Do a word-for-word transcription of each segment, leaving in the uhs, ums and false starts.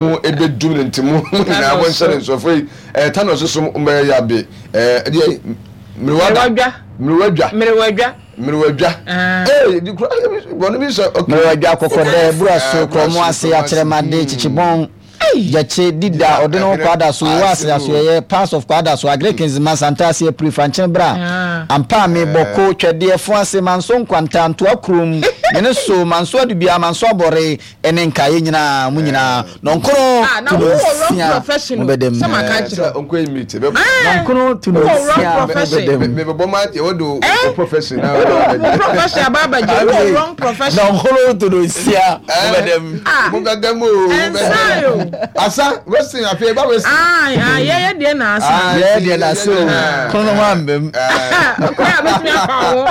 Ebedum ne nti mo nyinaa mo nhyɛ ne nsɔfo yi ɛɛ tano soso mbɛyɛ yabe ɛɛ ɛdeɛ mmerewadwa mmerewadwa mmerewadwa mmerewadwa ee di kura bɔnne bi sɛ ɔkè. Mmerewadwa, Kɔkɔdɛ, Buraso, Kurɔmo ase, Akyerɛmade, Kyikyibɔn, Gyakye, Dida, ɔde ne ho Kwadaso, Owo ase, Asoɛyɛ, parts of Kwadaso, Agric, Nzema, Santase, Apiri, Fankyene Bra, Ampaame, Bɔko, Twɛdeɛ, Foase, Manso Nkwanta, Ntoa Kurom, Mene So, Manso Adubia, Manso Abɔre, ɛne nkaeɛ nyinaa, mo nyinaa, nɔnkron Ah, na to wowɔ wrong nsia profession o. mobɛdam. Sɛ maka kyerɛ sɛ nkɔ yi meet bɛ Nɔnkron to Wowɔ wrong nsia profession. mobɛdam. mɛ bɔ ma yɛ wɔ do o profession na wode wo profession aba abɛgye, wowɔ wrong profession. Nɔnkron to nsia mobɛdam. Ah. Mo bɛ dɛm o, mo bɛ Ɛnsa o. dɛm asa western afei ba western. Ah, ah, yɛyɛ deɛ na asa. Ah. Yɛyɛ deɛ na so kono ho ambam. Kora a bɛtumi afa wo.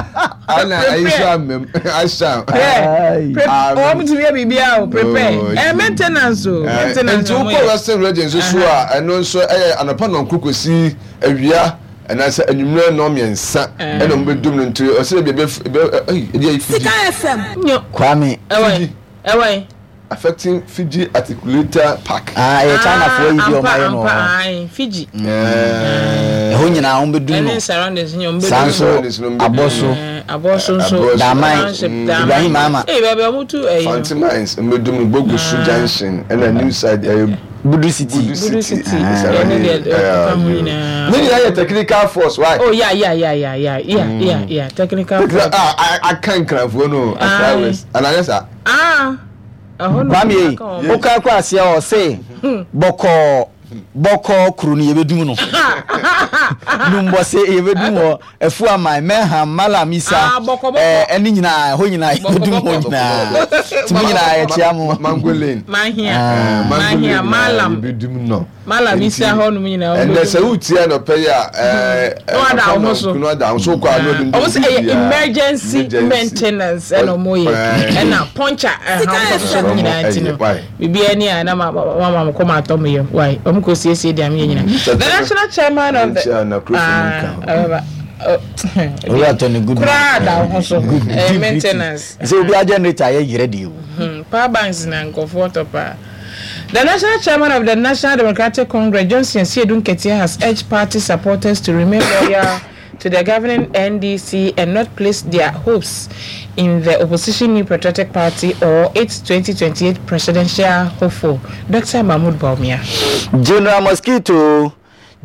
Ana ayi so amem ahyɛ. Aye. Wɔn tumi yɛ biribiara o, prepare. Oh, Ɛ maintenance o, maintenance nti na wɔn wokɔ yɛ. Western Region nso so a, ɛno nso ɛyɛ anɔpa nɔnko kɔsi awia ɛnaasɛ anwummerɛ nnɔn mmiɛnsa ɛna ɔmo bɛdum no, nti ɔsɛ bi ɛbɛ ɛbɛ ɛyi ɛdi ayi Fiji. Sika F M. Nyo. Kwame. Ɛwɔ Fiji. ɛwɔ yi. Affecting Fiji Articulator Park. Ah, ɛyɛ Chinafoɔ yi bi ɔmo Ampa ayɛ no ampa wɔ hɔ. Ayi Fiji. Ɛhɔ nyinaa wɔn bɛdum no. Ɛne surroundings nyɛ wɔn Saa bɛdum. nso Surroundings no abɔ so. Ɛɛ, Abɔso nso. Abɔso. Daman. Township, Mm. Daman. Ibrahim Mahama. Ee, baabi a wɔn tu ɛyi no. Fanti Mines mbɛdum no, Bogoso Junction ɛna New Side ɛyɛ Budu City. Budu Budu City. City. Ɛne deɛ ɛkeka ho nyinaa. Ne nyinaa yɛ technical force why. Oh, yeah yeah yeah yeah yeah yeah yeah yeah technical Technical force. Ah, aka nkranfoɔ no Accra Aye. West anayɛ saa. Ah, ɛhɔ no. Kwame yi aka wɔn. woka kɔ aseɛ ɔse bɔkɔɔ bɔkɔɔ kuro no yɛbɛdum no, Numbɔse yɛbɛdum hɔ, Afu Aman, Mɛham, Malam Isa. Ah, bɔkɔ, bɔkɔ. ɛɛ, ɛne nyinaa, ɛhɔ nyinaa yɛbɛdum hɔ Bɔkɔ, bɔkɔ. nyinaa, nti mo nyinaa yɛkyia mo. Mango Lane. Mahia. Ah. Mango Mahia, Lane. Malam. Yɛbɛdum no. Malam Isa hɔ nom nyinaa. Ɛnɛ sɛ wotie anɔpɛ yi a ɛɛ Na wada wo ho so. na wada wo so kɔ a na ɔde Ɔmo sɛ ɛyɛ emergency maintenance ɛna ɔmo yɛ, ɛna puncture ɛha ɔmo so no nyinaa, nti no Why? biribiara ni a na ma ma ma kɔ ma atɔ mo yam why ɔmo kɔ siesie deɛ mo yɛ nyinaa. The national chairman of the Nkyɛn na kurofo mu nka ho. Ah, ɛbɛba. Owura Tony Goodman. Koraa da wo ho so. Ɛyɛ Good. maintenance. Sɛ obi a generator yɛ yerɛ deɛ o. Hmm, power banks na nkɔfoɔ tɔ paa. The national chairman of the National Democratic Congress, Johnson Asiedu Nketia, has urged party supporters to remain loyal to the governing N D C and not place their hopes in the opposition New Patriotic Party or its twenty twenty-eight presidential hopeful, Doctor Mahmoud Bawumia. General Mosquito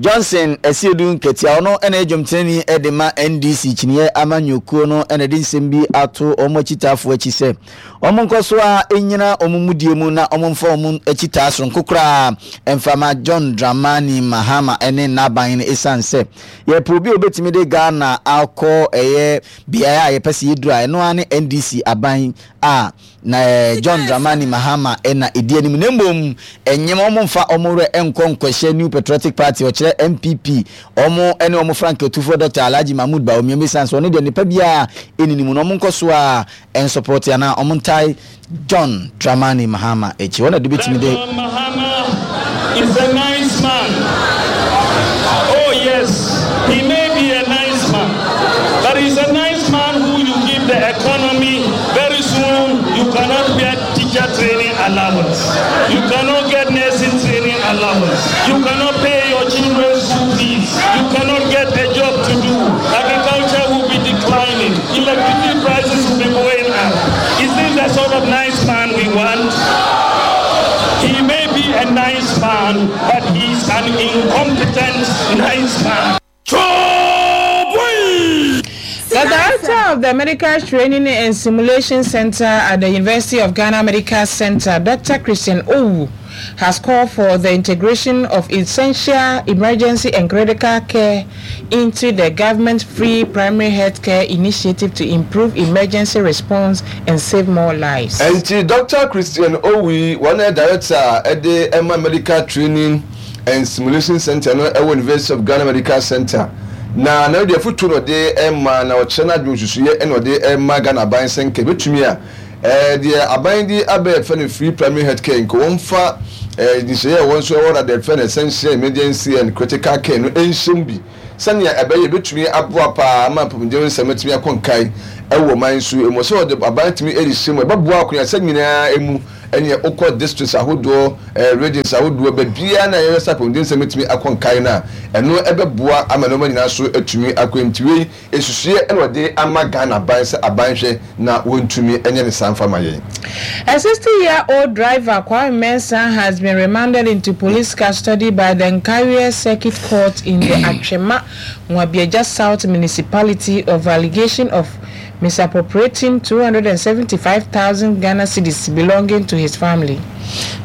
Johnson Asiedu Nketia, ɔno ɛna adwamtenani ɛde ma N D C kyiniiɛ amanyɔkuo no, ɛna de nsɛm bi ato wɔn akyitaafoɔ akyi sɛ wɔn nkɔ so a ɛnyina wɔn mudie mu na wɔn mfa wɔn akyitaa soronko koraa mfama John Dramani Mahama ɛne n'aban no, ɛsiane sɛ yɛpɛ obi a obɛtumi de Ghana akɔ ɛyɛ beaeɛ a yɛpɛ sɛ yɛduru a, ɛno ara ne N D C aban a na eh, John Dramani Mahama ɛna ɛdi anim, na mmom ɛnyɛm ɔmo mfa ɔmo werɛ ɛnkɔ nkɔhyɛ New Patriotic Party, ɔkyerɛ N P P, ɔmo ɛne ɔmo frank atufoɔ Doctor Alhaji Mahmood Bawumia, mesan so ɔno deɛ nipa biara ɛnini mu na ɔmo nkɔ so a ɛnsupporte anaa ɔmo ntae John Dramani Mahama akyi, wɔn na de bɛtumi de John Mahama is a nice man. Oh yes, he may be a nice man, but he's a nice man who you give the economy, very soon you cannot get teacher training allowance. You cannot get nursing training allowance. You cannot pay your children's school fees. You cannot get a job to do. Agriculture will be declining. Electricity prices will be going up. Is this the sort of nice man we want? He may be a nice man, but he's an incompetent nice man. The director of the Medical Training and Simulation Center at the University of Ghana Medical Center, Doctor Christian Owu, has called for the integration of essential emergency and critical care into the government free primary health care initiative to improve emergency response and save more lives. Nti Doctor Christian Owi, wɔn yɛ director ɛde ɛma Medical Training and Simulation Center no ɛwɔ University of Ghana Medical Center, na na deɛ foto na ɔde ɛma na ɔkyerɛ n'adwene nsusuiɛ ɛna ɔde ɛma Ghana aban sɛ nka ebetumi a ɛɛ deɛ aban de abɛɛ fɛ no free primary health care, nka wɔn fa ɛɛ nhyehyɛeɛ a wɔn nso ɛwɔ na deɛ fɛ no essential emergency and critical care no ɛnhyɛm bi, sɛnea ɛbɛyɛ ebetumi aboa paa ama mpɔmuden nsɛm atumi akɔ nkae ɛwɔ man so emu, sɛ ɔde aban tumi ɛde hyɛ mu, ɛbɛboa akonnwa nyinaa emu. Ɛneɛ wokɔ districts ahodoɔ, eh, regions ahodoɔ, baabiara na yɛhwɛ sɛ apɔmuden nsɛm bɛtumi akɔ nkae no a, ɛno ɛbɛboa ama nneɛma nyinaa so atumi akɔ. Nti wei nsusuiɛ na wɔde ama Ghana aban sɛ aban hwɛ na wɔntumi nyɛ ne saa mfa ma yɛn. A sixty-year-old driver, Kwame Mensah, has been remanded into police custody by the Nkawie Circuit Court in the Atwima Nwabiagya South Municipality of allegation of misappropriating two hundred seventy-five thousand Ghana cedis belonging to his family.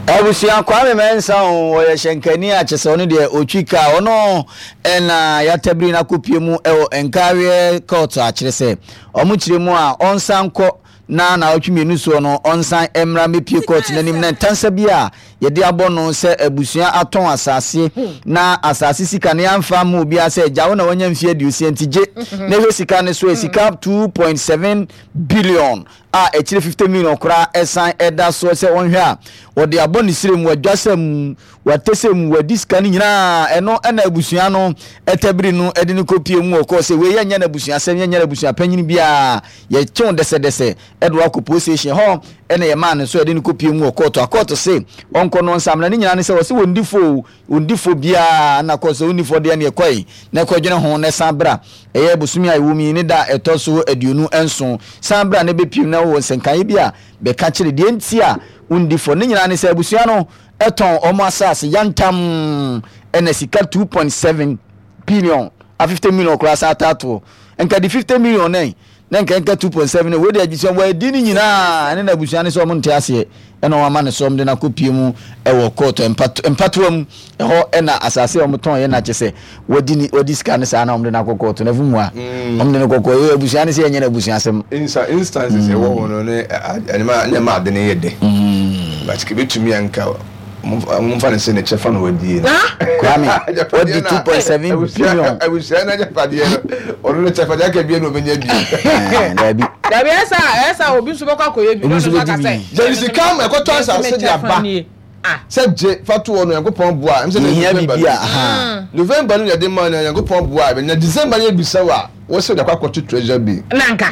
Abusua Kwame Mensah o, ɔyɛ hyɛnkani a kyerɛ sɛ ɔno deɛ ɔtwi kaa, ɔno ɛna yɛatabiri no akɔpie mu ɛwɔ Nkawie Court a kyerɛ sɛ ɔmo kyerɛ mu a ɔnsan kɔ na naawɔtwe mmienu soɔ no ɔnsan mmra mmɛpie court n'anim na ntansa bi a yɛde abɔ no sɛ abusua atɔn asase na asase sika no yɛamfa ma obiara sɛ agya wo na wanya mfeɛ aduosia nti gye na hwɛ sika no so sika two point seven billion a akyire fifty million koraa ɛsan ɛda soɔ sɛ ɔnhwɛ a wɔde abɔ ne sire mu wadwasa mu watɛsɛ mu wadi sika no nyinaa ɛno ɛna abusua no ɛtabiri no ɛde no kɔpie mu wɔ kɔɔ sɛ wei yɛnyɛ no abusua asɛm yɛnyɛ no abusua panyin biara yɛkyew dɛsɛdɛsɛ ɛde wakɔ police station hɔ ɛna yɛmaa no so ɛde no kɔpie mu wɔ kɔɔto akɔɔto se ɔnkɔ no nsamena ne nyinaa ne sɛ wɔse wɔndi fo wɔndi fo biara na kɔɔ sɛ wɔndi fo deɛ ne ɛkɔe na ɛkɔdwene ho na ɛsan bra ɛyɛ bosome a ɛwɔ mu yi ne da ɛtɔ so aduonu nson san bra na ɛbɛpiem na wɔ nsɛnkaeɛ bi a bɛka kyerɛ deɛ nti a wɔndi fo ne nyinaa ne sɛ abusua no ɛtɔn ɔmo asase yantam ɛna sika two point seven billion a fifty million koraa sa ataatoɔ nka de fifty million nɛn na nka nka two point seven wei de abusua wɔadi ne nyinaa ɛne na abusua ne sɛ ɔmo nte aseɛ ɛna ɔmo ama ne so ɔmo de n'akɔ pie mu ɛwɔ court mpatoa mu ɛhɔ ɛna asase a ɔmo tɔn yɛ na kyɛ sɛ wɔdi ni wɔdi sika ne saa na ɔmo de n'akɔ court na efu mu a ɔmo de ne kɔkɔ yɛ abusua ne sɛ ɛnyɛ n'abusua asɛm. Insta instances ɛwɔ hɔ no ne ɛnima nneɛma ade ne yɛ dɛ but kebetumi anka momfa ne sɛ ne kyɛfa na wadie no Kwame wɔdi two point seven billion abusua no agyapadeɛ no ɔno ne kyɛfa deɛ aka bie na ɔbɛnya bie dabi dabi ɛsɛ ɛsɛ obi nso bɛkɔ akɔyɛ bi obi nso bɛdi bi yɛde sika ma ɛkɔtɔ asase de aba sɛ gye fa to hɔ no Nyankopɔn boa ɛm sɛ yɛhia biribi a aha November no yɛde ma no Nyankopɔn boa na December no yɛbisa wo a wɔsɛ wode akɔ akɔto treasure bi nanka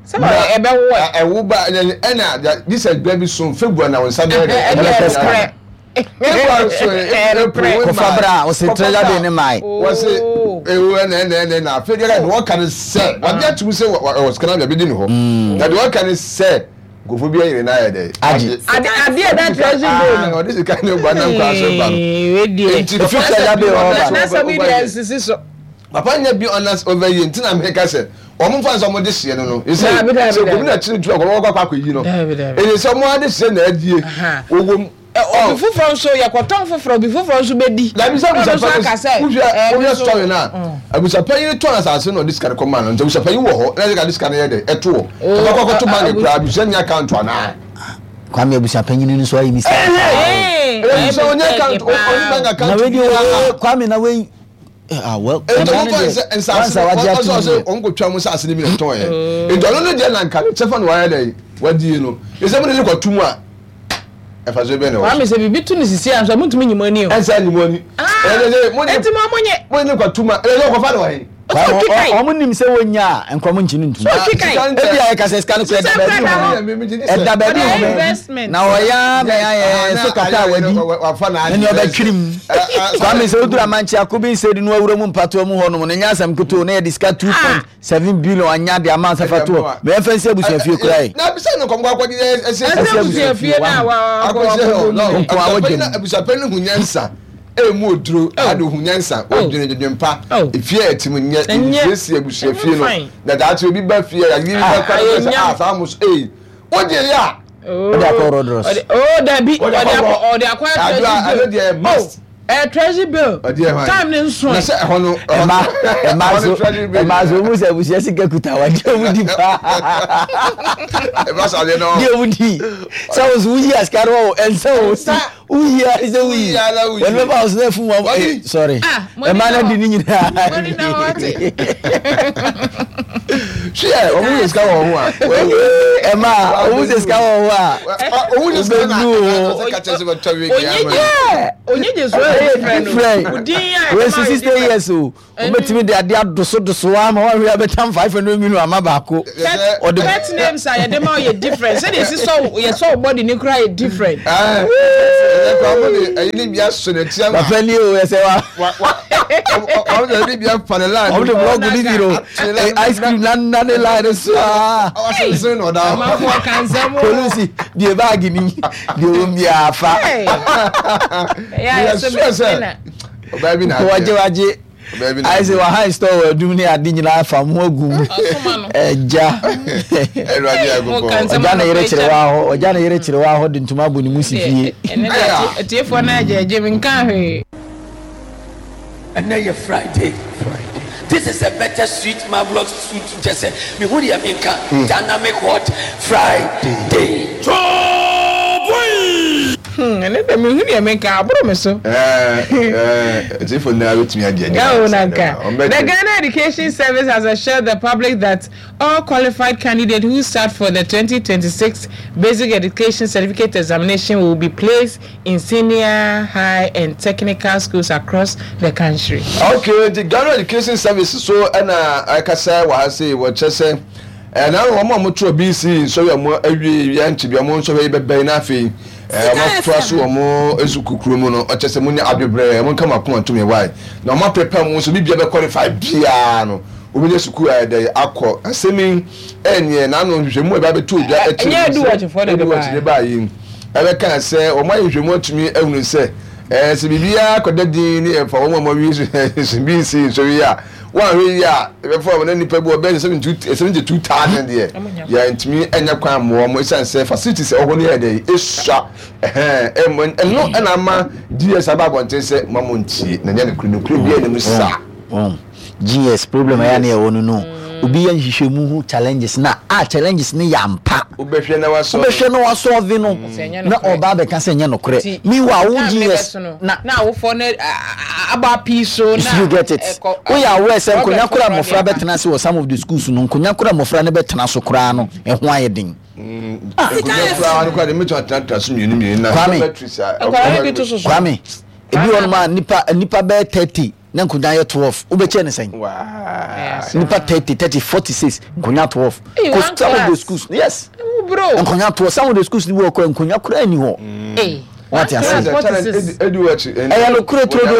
sɛ ɛbɛwo ɛ ɛwo ba ɛna this is baabi so February na wo nsa bɛyɛ dɛ ɛbɛpɛ sika February so April kɔfa bra ɔsɛ treasure bill ne mae wɔse ewu ɛna ɛna ɛna ɛna afei deɛ deɛ wɔka ne sɛ wɔde atum sɛ wɔ sika na baabi di ne hɔ na deɛ wɔka ne sɛ nkurɔfoɔ bi ayere n'ayɛ dɛ agye ade ade ɛda treasure bill no ɔde sika ne ba nam kwan so ba no nti efi treasure bill hɔ ba na sɛ bi deɛ nsisi so papa nya bi ɔnas over yi nti na meka sɛ wɔn mfa nsa wɔn de hyɛ no no ɛsɛ sɛ obi na kyerɛ tu akɔlɔ wɔkɔ akɔ yi no ɛyɛ sɛ wɔn ade hyɛ na adie wɔwɔ mu. Obi foforɔ nso yɛkɔtɔn foforɔ obi foforɔ nso bɛdi. Dabi sɛ abusapa wohwɛ wohwɛ story na abusapa yi tɔn asase na ɔde sika no kɔ maa no nti abusapa yi wɔ hɔ na ɛsɛ ka de sika no yɛ dɛ ɛto hɔ kɔkɔ kɔkɔto bank kura abusua ni account anaa. Kwame abusapa nyini nso ayi mi sika. Ɛɛ ɛɛ onye account onye bank account. Na wei di o Kwame na wei. Ah well. Nti wɔn fa nsɛ nsaase no ɔsɛ ɔsɛ wɔn kò twa mu nsaase no bi na tɔn yɛ. Nti ɔno no deɛ na nka ne kyɛfa na wayɛ dɛ wadie no. Ɛsɛ mo de ne kɔ tum a ɛfa so bɛn na wɔ so. Kwame sɛ biribi tu ne sisi a nso mo ntumi nyi mo ani o. Ɛnsɛ nyi mo ani. Ɛnti mo mo nye. Mo ne kɔ tum a ɛyɛ ɔkɔfa na wɔhe. Ɔmo nim sɛ wonya a nkɔmɔ nkyi no ntum. Ebi a yɛka sɛ sika no kura ɛda baabi hɔ ɛda baabi hɔ na ɔyɛ ama yɛ so kata a wadi na nea ɔbɛtwiri mu. Kwame sɛ woduru amankye akobi nsɛdi no awura mu mpatoa mu hɔ nom no nyɛ asɛm ketewa na yɛde sika two point seven billion anya de ama nsafa toɔ mɛ yɛmfa nsi abusuafie kura yi. Na bisa no nkɔmɔ akɔ de ɛsɛ ɛsɛ abusuafie na wa akɔ akɔ nko a wɔdwe abusuafie no hu nyansa. Emu oduro ade hu nyansa wɔdwene dwene pa efie a ɛte mu nyɛ siesie abusuafie no na daakye obi ba fie a yiri ba kora no sɛ a saa mo so ee wogye yɛ a ɔde akɔ rodros oh dabi ɔde akɔ ɔde akɔ treasury bill ɛdo must ɛ treasury bill time ne nso na sɛ ɛhɔ no ɛma ɛma so ɛma so mu sɛ abusua sika kuta wa deɛ ɔmu di paa ɛma so adeɛ no deɛ ɔmu di sɛ wo so woyi asika no wɔ ɛnsɛ wo si woyi a sɛ woyi wɔn bɛba wo so na afu mu sorry ɛma no di ne nyinaa Hwɛ, ɔmo yɛ sika wɔ ho a. Ɛma ɔmo sɛ sika wɔ ho a. Ɔmo yɛ sika na ɔsɛ kakyɛ sɛ bɛtɔ wig ama. Onye gye so yɛ different. Wei so sixty years o. Wobɛtumi de adeɛ adosodoso ama woahwɛ abɛtam five hundred million ama baako. Ɔde pet names a yɛde ma yɛ different. Sɛdeɛ esi sɔ yɛ sɔ body ne kura yɛ different. Ɛɛ ɛyɛ kɔ ɔmo de ɛyi ni bi aso n'akyi ama. Papa ni o ɛsɛ wa. Wa wa ɔmo de ɛyi ni bi afa ne line. Ɔmo de blɔk ni bi no ice cream na na ne line so aa. Ɔsensɛn na ɔda hɔ. Amanfoɔ kansɛm o. Polisi deɛ baagi ni deɛ wɔn bi afa. Ɛyɛ sɛ sɛ ɔbaa bi na adeɛ. Wagye wagye. Ayɛ sɛ wahan store wɔ adum ne ade nyinaa fa mu agu mu. Ɛgya. Ɔgya ne yere kyerɛ wa hɔ ɔgya ne yere kyerɛ wa hɔ de ntoma abɔ ne mu si fie. Ɛnɛ de atiefoɔ no agye agye mi nka hwee. Ɛnɛ yɛ Friday. This is a better sweet marvelous sweet kyɛ sɛ mehu deɛ menka dynamic hot Friday. Ɛnɛ de mehu deɛ menka aboro me so. Ɛtifo nyinaa bɛtumi agye agye. Oh, Nanka. The Ghana Education Service has assured the public that all qualified candidates who sat for the twenty twenty-six Basic Education Certificate Examination will be placed in senior, high, and technical schools across the country. Okay, the Ghana Education Service so ɛna akasa wɔ ha sɛ wɔkyɛ sɛ ɛna wɔn a wɔto B C nsɔre a wɔn awie yɛn nkyɛn bi wɔn nsɔre yi bɛbɛn n'afei wɔn atoa so wɔn esu kukuru mu no ɔkyɛ sɛ mo nyɛ abebrɛ wɔn nkama kɔn atum yɛ wae na wɔn apɛpɛ wɔn nso bibia bɛ qualify biara no wɔn nyɛ sukuu a yɛde akɔ asɛm ɛnyɛ n'ano nhwehwɛmu a ɛba abɛto odwa ɛkyɛ ɛdu wɔkye ne baa yi ɛbɛka sɛ wɔn ayɛ nhwehwɛmu atumi ahunu sɛ ɛɛ sɛ biribiara kɔda din ne ɛfa wɔn a wɔn awie so bi nsi nsɔre yi a wɔn ahwɛ yi a ɛbɛfa wɔn nipa bi wɔbɛn seventy two thousand deɛ yɛntumi ɛnyɛ kwan mmoa wɔn esan sɛ facilities ɛwɔ hɔ no yɛ dɛ esua ɛhɛn ɛmɔ ɛno ɛna ama G S aba abɔnten sɛ mo mo ntie na nyɛ ne kuro ne kuro bi ɛnum saa. G S problem ɛyɛ ne ɛwɔ no no obi yɛ nhwehwɛmu ho challenges na a challenges ne yɛ ampa. Wobɛhwɛ na wasɔ. Wobɛhwɛ na wasɔ vi no na ɔba abɛka sɛ nyɛ nokorɛ. Meanwhile wo G S na na awofo ne aba pii so na you get it. Woyɛ aware sɛ nkonya kora mmɔfra bɛtena ase wɔ some of the schools no nkonya kora mmɔfra ne bɛtena so koraa no ɛho ayɛ den. Nkonya koraa no koraa de mɛtumi atenatena so mmienu mmienu na Kwame Kwame ebi wɔ nom a nipa nipa bɛyɛ thirty na nkonya yɛ twelve wobɛkyɛ ne sɛn nipa thirty thirty forty six nkonya twelve cause some of the schools yes nkonya twelve some of the schools ni wɔ kɔ nkonya koraa ni hɔ wate ase ɛyɛ no kure turo do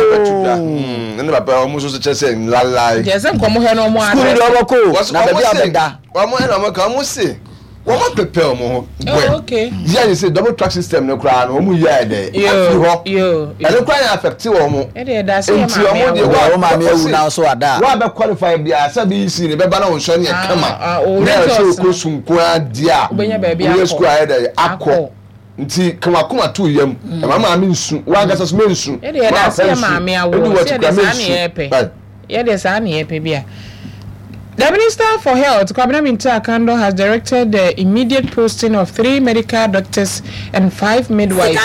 ɛne papa ɔmo nso kyɛ sɛ nlalai kyɛ sɛ nkɔmɔ hɛ no ɔmo sukuu ni deɛ ɔbɛkɔ na baabi abɛda ɔmo ɛna ɔmo ka ɔmo se wɔn apɛpɛ ɔmo ho wɛ yíyá yìí sɛ double track system no koraa no ɔmo yíyá yɛ dɛ afi hɔ ɛno koraa yɛ affect wɔn nti ɔmo deɛ wɔn maame ewu na so ada wɔn abɛ qualify bia sɛ bi si ne bɛba na wɔn nsɔ ne yɛ kama na yɛ sɛ okɔ sunkoa di a wɔyɛ sukuu ayɛ dɛ akɔ nti kamakoma to yam ɛma maame nsu wɔn ankasa so mɛ nsu wɔn afɛ nsu edu wɔ ti kura mɛ nsu. Yɛ deɛ saa ne yɛ pɛ bi a. The Minister for Health, Kwabena Mintah Akandoh, has directed the immediate posting of three medical doctors and five midwives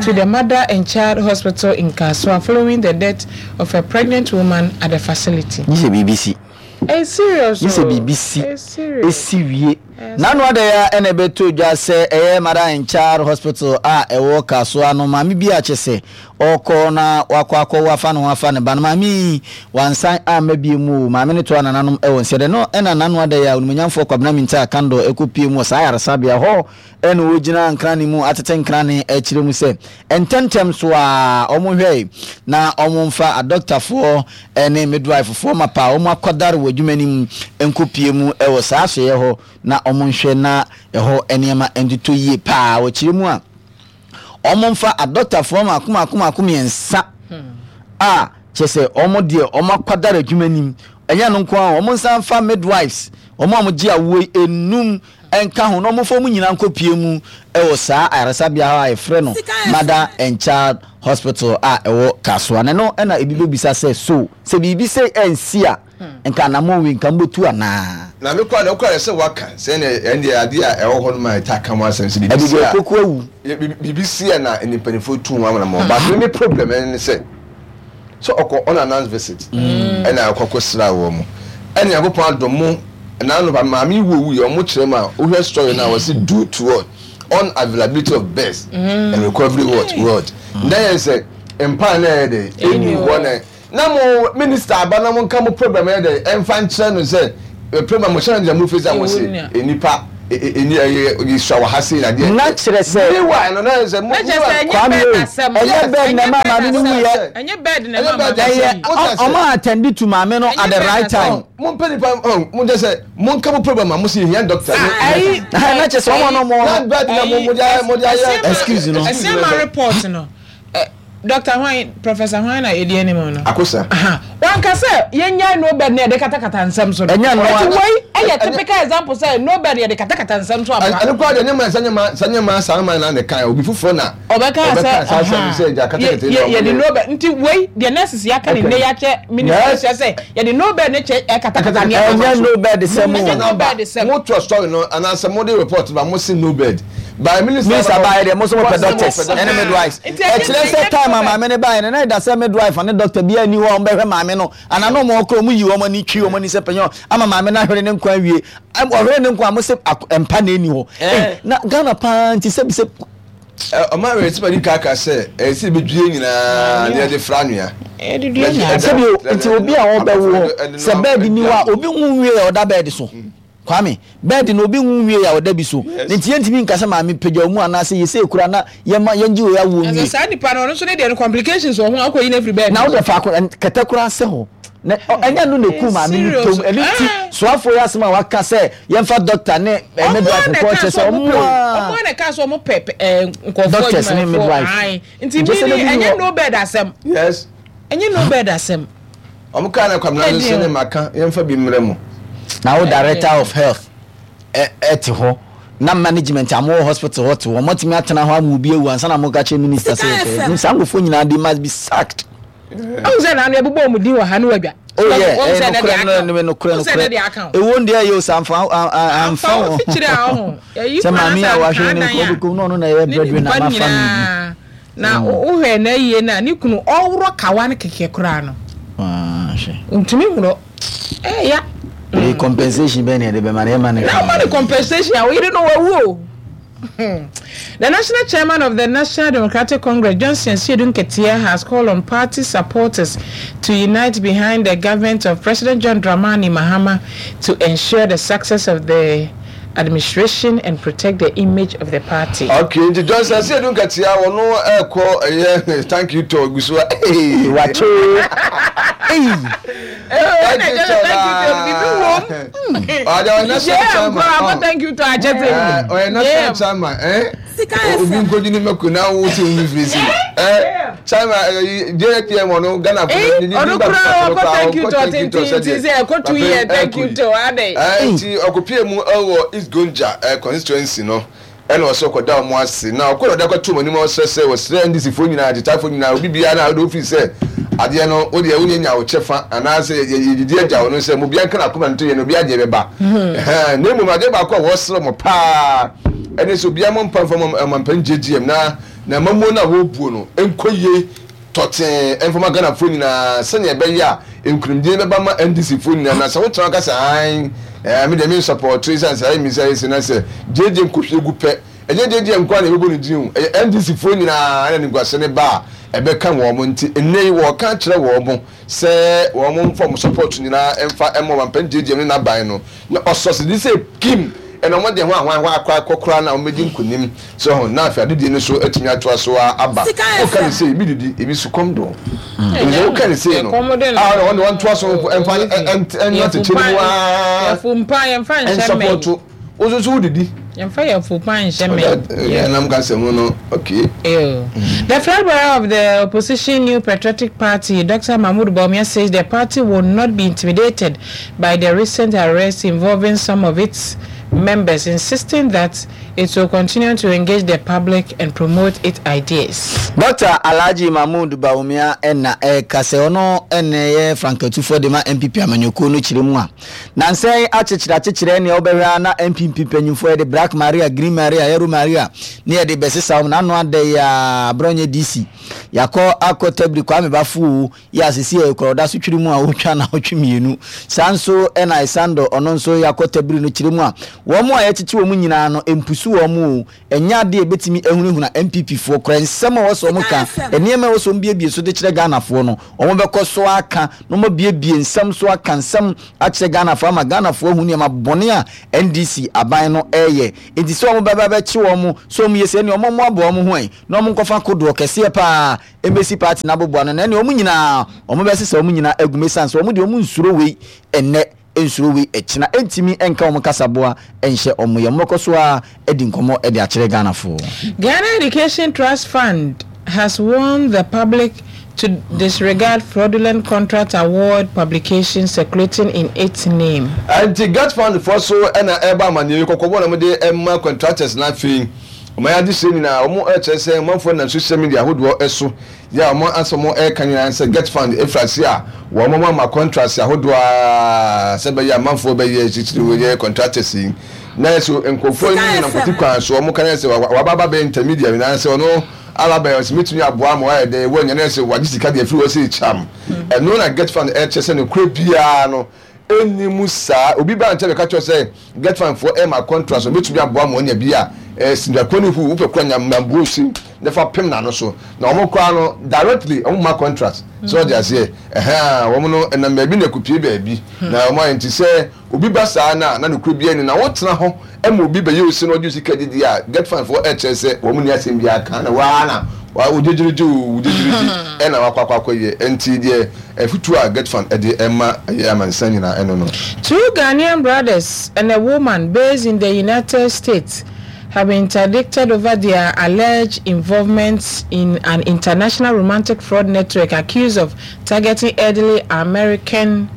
to the Mother and Child Hospital in Kasoa following the death of a pregnant woman at the facility. This is B B C. It's serious. This is B B C. It's serious. It's serious. Nanu adeya enebe to dwa se eye Mother and Child Hospital a ewo Kasoa no mami bi a chese oko na wakɔ akɔ wafa no wafa ne ba no mami wansan a mabie mu mami ne to anananom ewo nsede no ena nanu adeya onumunyamfo Kwabena Mintah Akandoh ekopie mu saa yaresabea hɔ ene wogina nkrane mu atete nkrane akire mu se ententem so a omo hwɛ na omo mfa a doctor fo ene midwife fo mapa omo akɔdare wadwumani enkopie mu ewo saa hye hɔ na omo nhwɛ na ɛhɔ enema entuto yie paa wɔkyire mu a omo mfa a doctor fo ma akoma akoma akoma yensa a kyese omo de omo akɔdare adwumani enya no nko a omo nsa mfa midwives omo amogye awo enum enka ho no omofo mu nyina nkopie mu ewo saa ayaresabea ha a efre no Mother and Child Hospital a ewo Kasoa ne no ena ebi bebisa sɛ so sɛ biribi sɛ ensi a nka na mo wi nka mbotu ana na me kwa na kwa sɛ waka sɛ ne ende ade a ewo ho no ma ta ka mo asɛm sɛ biribi si a koku awu biribi si a na enipanifu tu ho amana mo but me problem ne sɛ so okɔ on announced visit ena akɔkɔ sra wo mo ena yakopɔn adom mo Ɛna no maame wo wu yɛ ɔmo kyerɛ mu a wohwɛ story na wɔsi due to what unavailability of beds mm. and recovery ward ward. Na yɛ sɛ mpa na yɛ de ɛni hɔ na na mo minister aba na mo nka mo problem yɛ de ɛnfa nkyerɛ no sɛ problem mo hyɛn deɛ mo face a mo se nipa eni ɛyɛ yisua wɔ ha sei na deɛ. Na kyerɛ sɛ meanwhile no na yɛ sɛ mo Kwame ɛnyɛ bed na ɛma maame no wuyɛ ɛnyɛ bed na ɛma maame ɛyɛ ɔmo attend to maame no at the right time. Mo mpɛ nipa ɔn mo jɛ sɛ mo nka mo problem a mo si hia doctor. Ayi na kyerɛ sɛ ɔmo no mo. Na bed na mo mo de ayɛ mo de ayɛ. Excuse no. Ɛsɛn ma report no. Doctor Hwan, Professor Hwan na edi anim no. Akosa. Wanka sɛ yɛnya no bed na yɛde katakata nsɛm so no. Ɛnyɛ no. Eti wei ɛyɛ typical example sɛ no bed yɛde katakata nsɛm so apa. Ɛno koraa deɛ nyɛma sɛ nyɛma sɛ nyɛma saa man na ne kan obi foforɔ na. Ɔbɛka sɛ yɛde no bed nti wei deɛ nurses yɛaka ne nne yɛakyɛ minister kyerɛ sɛ yɛde no bed ne kyɛ ɛkatakata nneɛma. Ɛnyɛ no bed sɛ mo. Ɛnyɛ no bed sɛ mo. Mo to story no anaasɛ mo de report ba mo si no bed. By minister minister ba yɛ deɛ mo nso mo pɛ doctors ɛne midwives. Ɛkyerɛ sɛ time a maame ne ba yɛ no na ɛda sɛ midwife ne doctor bi ani hɔ a wɔn bɛhwɛ maame no ana na wɔn kɔ wɔn yi wɔn ani twi wɔn ani sɛ panyin ama maame no ahwere ne nkwa awie ɔhwere ne nkwa mo sɛ mpa na ɛni hɔ na Ghana paa nti sɛbi sɛ. Ɔmo awɛ sɛ bɛdi kaka sɛ ɛsɛ ebi due nyinaa na yɛde fra nua. Sɛbi nti obi a ɔbɛwɔ sɛ bɛɛdi ni hɔ a obi nwu wie a ɔda bɛɛdi so. Kwame, bɛɛdi na obi nwu wie a ɔda bi so. Nti yɛntumi nka sɛ maame pagya mu anaasɛ yɛsɛ ekura na yɛma yɛngye wei awo nwie. Saa nipa no ɔno nso ne deɛ no complications wɔ ho akɔ yi na efiri bɛɛdi. Na wode faako kɛtɛ koraa sɛ hɔ. Na ɛnyɛ no na eku maame no tom. Ɛno nti soafoɔ yi asɛm a waka sɛ yɛmfa doctor ne midwife kɔ kyerɛ sɛ ɔmo a ɔmo a na ɛka sɛ ɔmo pɛ nkɔfoɔ doctors ne midwife. Nti mi ni ɛnyɛ no bed asɛm. Yes. Ɛnyɛ no bed asɛm. Ɔmo kaa na kwamina no nso ne maka yɛmfa bi mmerɛ mu. Na wo director of health ɛte hɔ na management a mo hospital hɔ te hɔ mɔtumi atena hɔ ama obi awu ansa na mo ka kyerɛ minister sɛ yɛpɛ saa nkurɔfoɔ nyinaa they must be sacked. Ɔn sɛ naanu ɛbobɔ ɔmo din wɔ ha ne wadwa. Oh yeah, ɛyɛ nokorɛ no nokorɛ nokorɛ ewo ndeɛ yɛ o sɛ anfa anfa wɔ sɛ maame a wahwɛ ne nkɔ obi na ɔno na ɛyɛ breadwinner ama family bi. Na wohwɛ na yie na ne kunu ɔworɔ kawa no kɛkɛ koraa no. Ntumi worɔ ɛya. The compensation bɛn na yɛde bɛma no yɛma no. Na ɔma no compensation a oyere no wawu o. The national chairman of the National Democratic Congress, Johnson Asiedu Nketia, has called on party supporters to unite behind the government of President John Dramani Mahama to ensure the success of the administration and protect the image of the party. Okay, nti Johnson Asiedu Nketia wɔn ɛkɔ ɛyɛ thank you to ogusu a. Wato. Thank you to chairman. Thank you to Achete. Ɔyɛ national chairman. Eh? Obi nkodi ni mako na wo ti wo firi si. Eh, chairman J P M ɔno Ghana fo ni ni ba kɔ thank you to tintin ti sɛ ɛkɔ two year thank you to ade. Eh, nti ɔkɔpie mu ɛwɔ East Gonja constituency no. Ɛna ɔsɛ ɔkɔda ɔmo ase na ɔkɔ na ɔde akɔto ɔmo anim ɔsɛ sɛ ɔsrɛ N D C foɔ nyinaa agyetafoɔ nyinaa obi biara na ɔde ofiri sɛ adeɛ no o deɛ wonye nya wo kyɛfa anaasɛ yɛdidi agya wo no sɛ mo bia nka na akoma nto yɛ no obi adeɛ bɛba na mmom adeɛ baako a wɔsrɛ mo paa ɛne sɛ obiara mo mpa mfa mo ɔmampanin J G M na na mamuo no a wɔrebuo no nkɔ yie tɔtee mfama Ghanafoɔ nyinaa sɛnea ɛbɛyɛ a nkunimdie bɛba ma N D C foɔ nyinaa na sɛ wotena ka sɛ an ɛɛ me deɛ me nsɔpɔto ɛsiane sɛ ɛyɛ mi sɛ ɛsɛ na sɛ J G M kɔhwie gu pɛ ɛnyɛ J G M nko a na ɛbɛbɔ ne din o ɛyɛ N D C foɔ nyinaa ɛna niguase ne ba a ɛbɛka wɔn mo nti nnɛ yi wɔka kyerɛ wɔn mo sɛ wɔn mo mfa mo support nyinaa ɛmfa ɛmɔ ɔmampanin J G M ne n'aban no na ɔsɔsi de sɛ kim ɛna wɔn de ho ahoa akɔ akɔkora na wɔn bɛdi nkunim sɛ ho na afei adedie no so atumi atoa so aba woka ne sɛ ebi didi ebi so kɔm do ɛnso woka ne sɛ no a wɔn de wɔn toa so ɛmfa ɛnyɛ tete mu aa ɛnsɔpɔto wososo wodidi. Yɛmfa yɛfo pa nhyɛ mɛ. Yɛnam kasa mu no okay. The flag bearer of the opposition New Patriotic Party, Doctor Mahmoud Bawumia, says the party will not be intimidated by the recent arrests involving some of its members, insisting that it will continue to engage the public and promote its ideas. Doctor Alhaji Mahmood Bawumia na ɛreka sɛ ɔno na ɛyɛ frankatufoɔ de ma N P P amanyɔkuo no kyerɛ mu a, nansa yi akyekyere akyekyere nea wobɛhwɛ ara na N P P mpanyinfoɔ yɛde Black Maria, Green Maria, Yellow Maria ne yɛde bɛsesa wɔn n'ano ada yi a aborɔnyɛ D C yakɔ akɔ tabiri Kwame Bafo o yɛ asese yɛ kura ɔda so twiri mu a wotwa na wotwe mmienu. Saa nso ɛna Esando ɔno nso yakɔ tabiri no kyerɛ mu a wɔn a yɛkyekye wɔn nyinaa no mpusu wɔn o. Ɛnyɛ adeɛ a ɛbɛtumi ahunahuna N P P foɔ koraa. Nsɛm a ɛwɔ sɛ wɔn ka, nneɛma a ɛwɔ sɛ wɔn biebie so de kyerɛ Ghanafoɔ no, wɔn bɛkɔ so aka na wɔn abiebie nsɛm so aka nsɛm akyerɛ Ghanafoɔ ama Ghanafoɔ ahu nneɛma bɔne a N D C aban no ɛreyɛ. Nti sɛ wɔn bɛba bɛkye wɔn sɛ wɔn yɛ sɛ ɛnea wɔn mmoaboa wɔn ho ɛ na wɔn nkɔfa kodoɔ kɛseɛ paa ɛmbɛsi party no aboboa no na ɛnea wɔn nyinaa wɔn bɛsesa wɔn nyinaa agu mu, ɛsiane sɛ wɔn deɛ wɔn nsuro wei ɛnnɛ, nsuro wei ɛkyina, ɛntumi ɛnka wɔn kasaboa ɛnhyɛ wɔn yɛ. Wɔn bɛkɔ so a ɛdi nkɔmɔ ɛde akyerɛ Ghanafoɔ. Ghana Education Trust Fund has warned the public to disregard fraudulent contract award publications circulating in its name. Nti GETFund foɔ so ɛna ɛba amaneɛ kɔkɔbɔ na wɔde ɛma contractors. Na afei wɔn ayɛ adehyɛ nyinaa, wɔn ɛkyerɛ sɛ ɔmanfoɔ nam social media ahodoɔ ɛso yɛ a wɔn asɛ wɔn ɛka nyinaa sɛ GETFund efiri ase a wɔn ama contracts ahodoɔ a sɛ bɛyɛ amanfoɔ bɛyɛ titiri wɔyɛ contractors yi na yɛ so nkurɔfoɔ yi nam kɔti kwan so. Wɔn kan yɛ sɛ waba aba bɛyɛ intermediary na sɛ ɔno aba bɛyɛ ɔsɛ mitumi aboa ma wayɛ dɛ wɔnyɛ na yɛ sɛ wagye sika deɛ efiri hɔ sɛ ekyam. Ɛno na GETFund ɛkyɛ sɛ no kura biara no ɛni mu saa. Obi ba nkyɛn bɛka kyerɛ sɛ GETFund foɔ ɛma contract so obetumi aboa ma ɔnya bi a ɛɛ sindakuo ne hu wopɛ kura nyambuo si ne fa pem n'ano so na wɔn koraa no directly wɔn ma contract sɛ ɔde aseɛ ɛhɛn wɔn no ɛnam baabi na ekupie baabi na wɔn ayɛ. Nti sɛ obi ba saa na na nokura bi ani na wɔtena hɔ ɛma obi bɛyɛ osi na ɔde sika didi a, GETFund foɔ ɛkyerɛ sɛ wɔn ni asɛm bi aka na waa na wa ogyegyerigye o, ogyegyerigye ɛna wakɔ akɔ akɔ yɛ. Nti deɛ ɛfutu a GETFund ɛde ɛma ɛyɛ amansan nyinaa ɛno no. Two Ghanaian brothers and a woman based in the United States have been interdicted over their alleged involvement in an international romantic fraud network, accused of targeting elderly American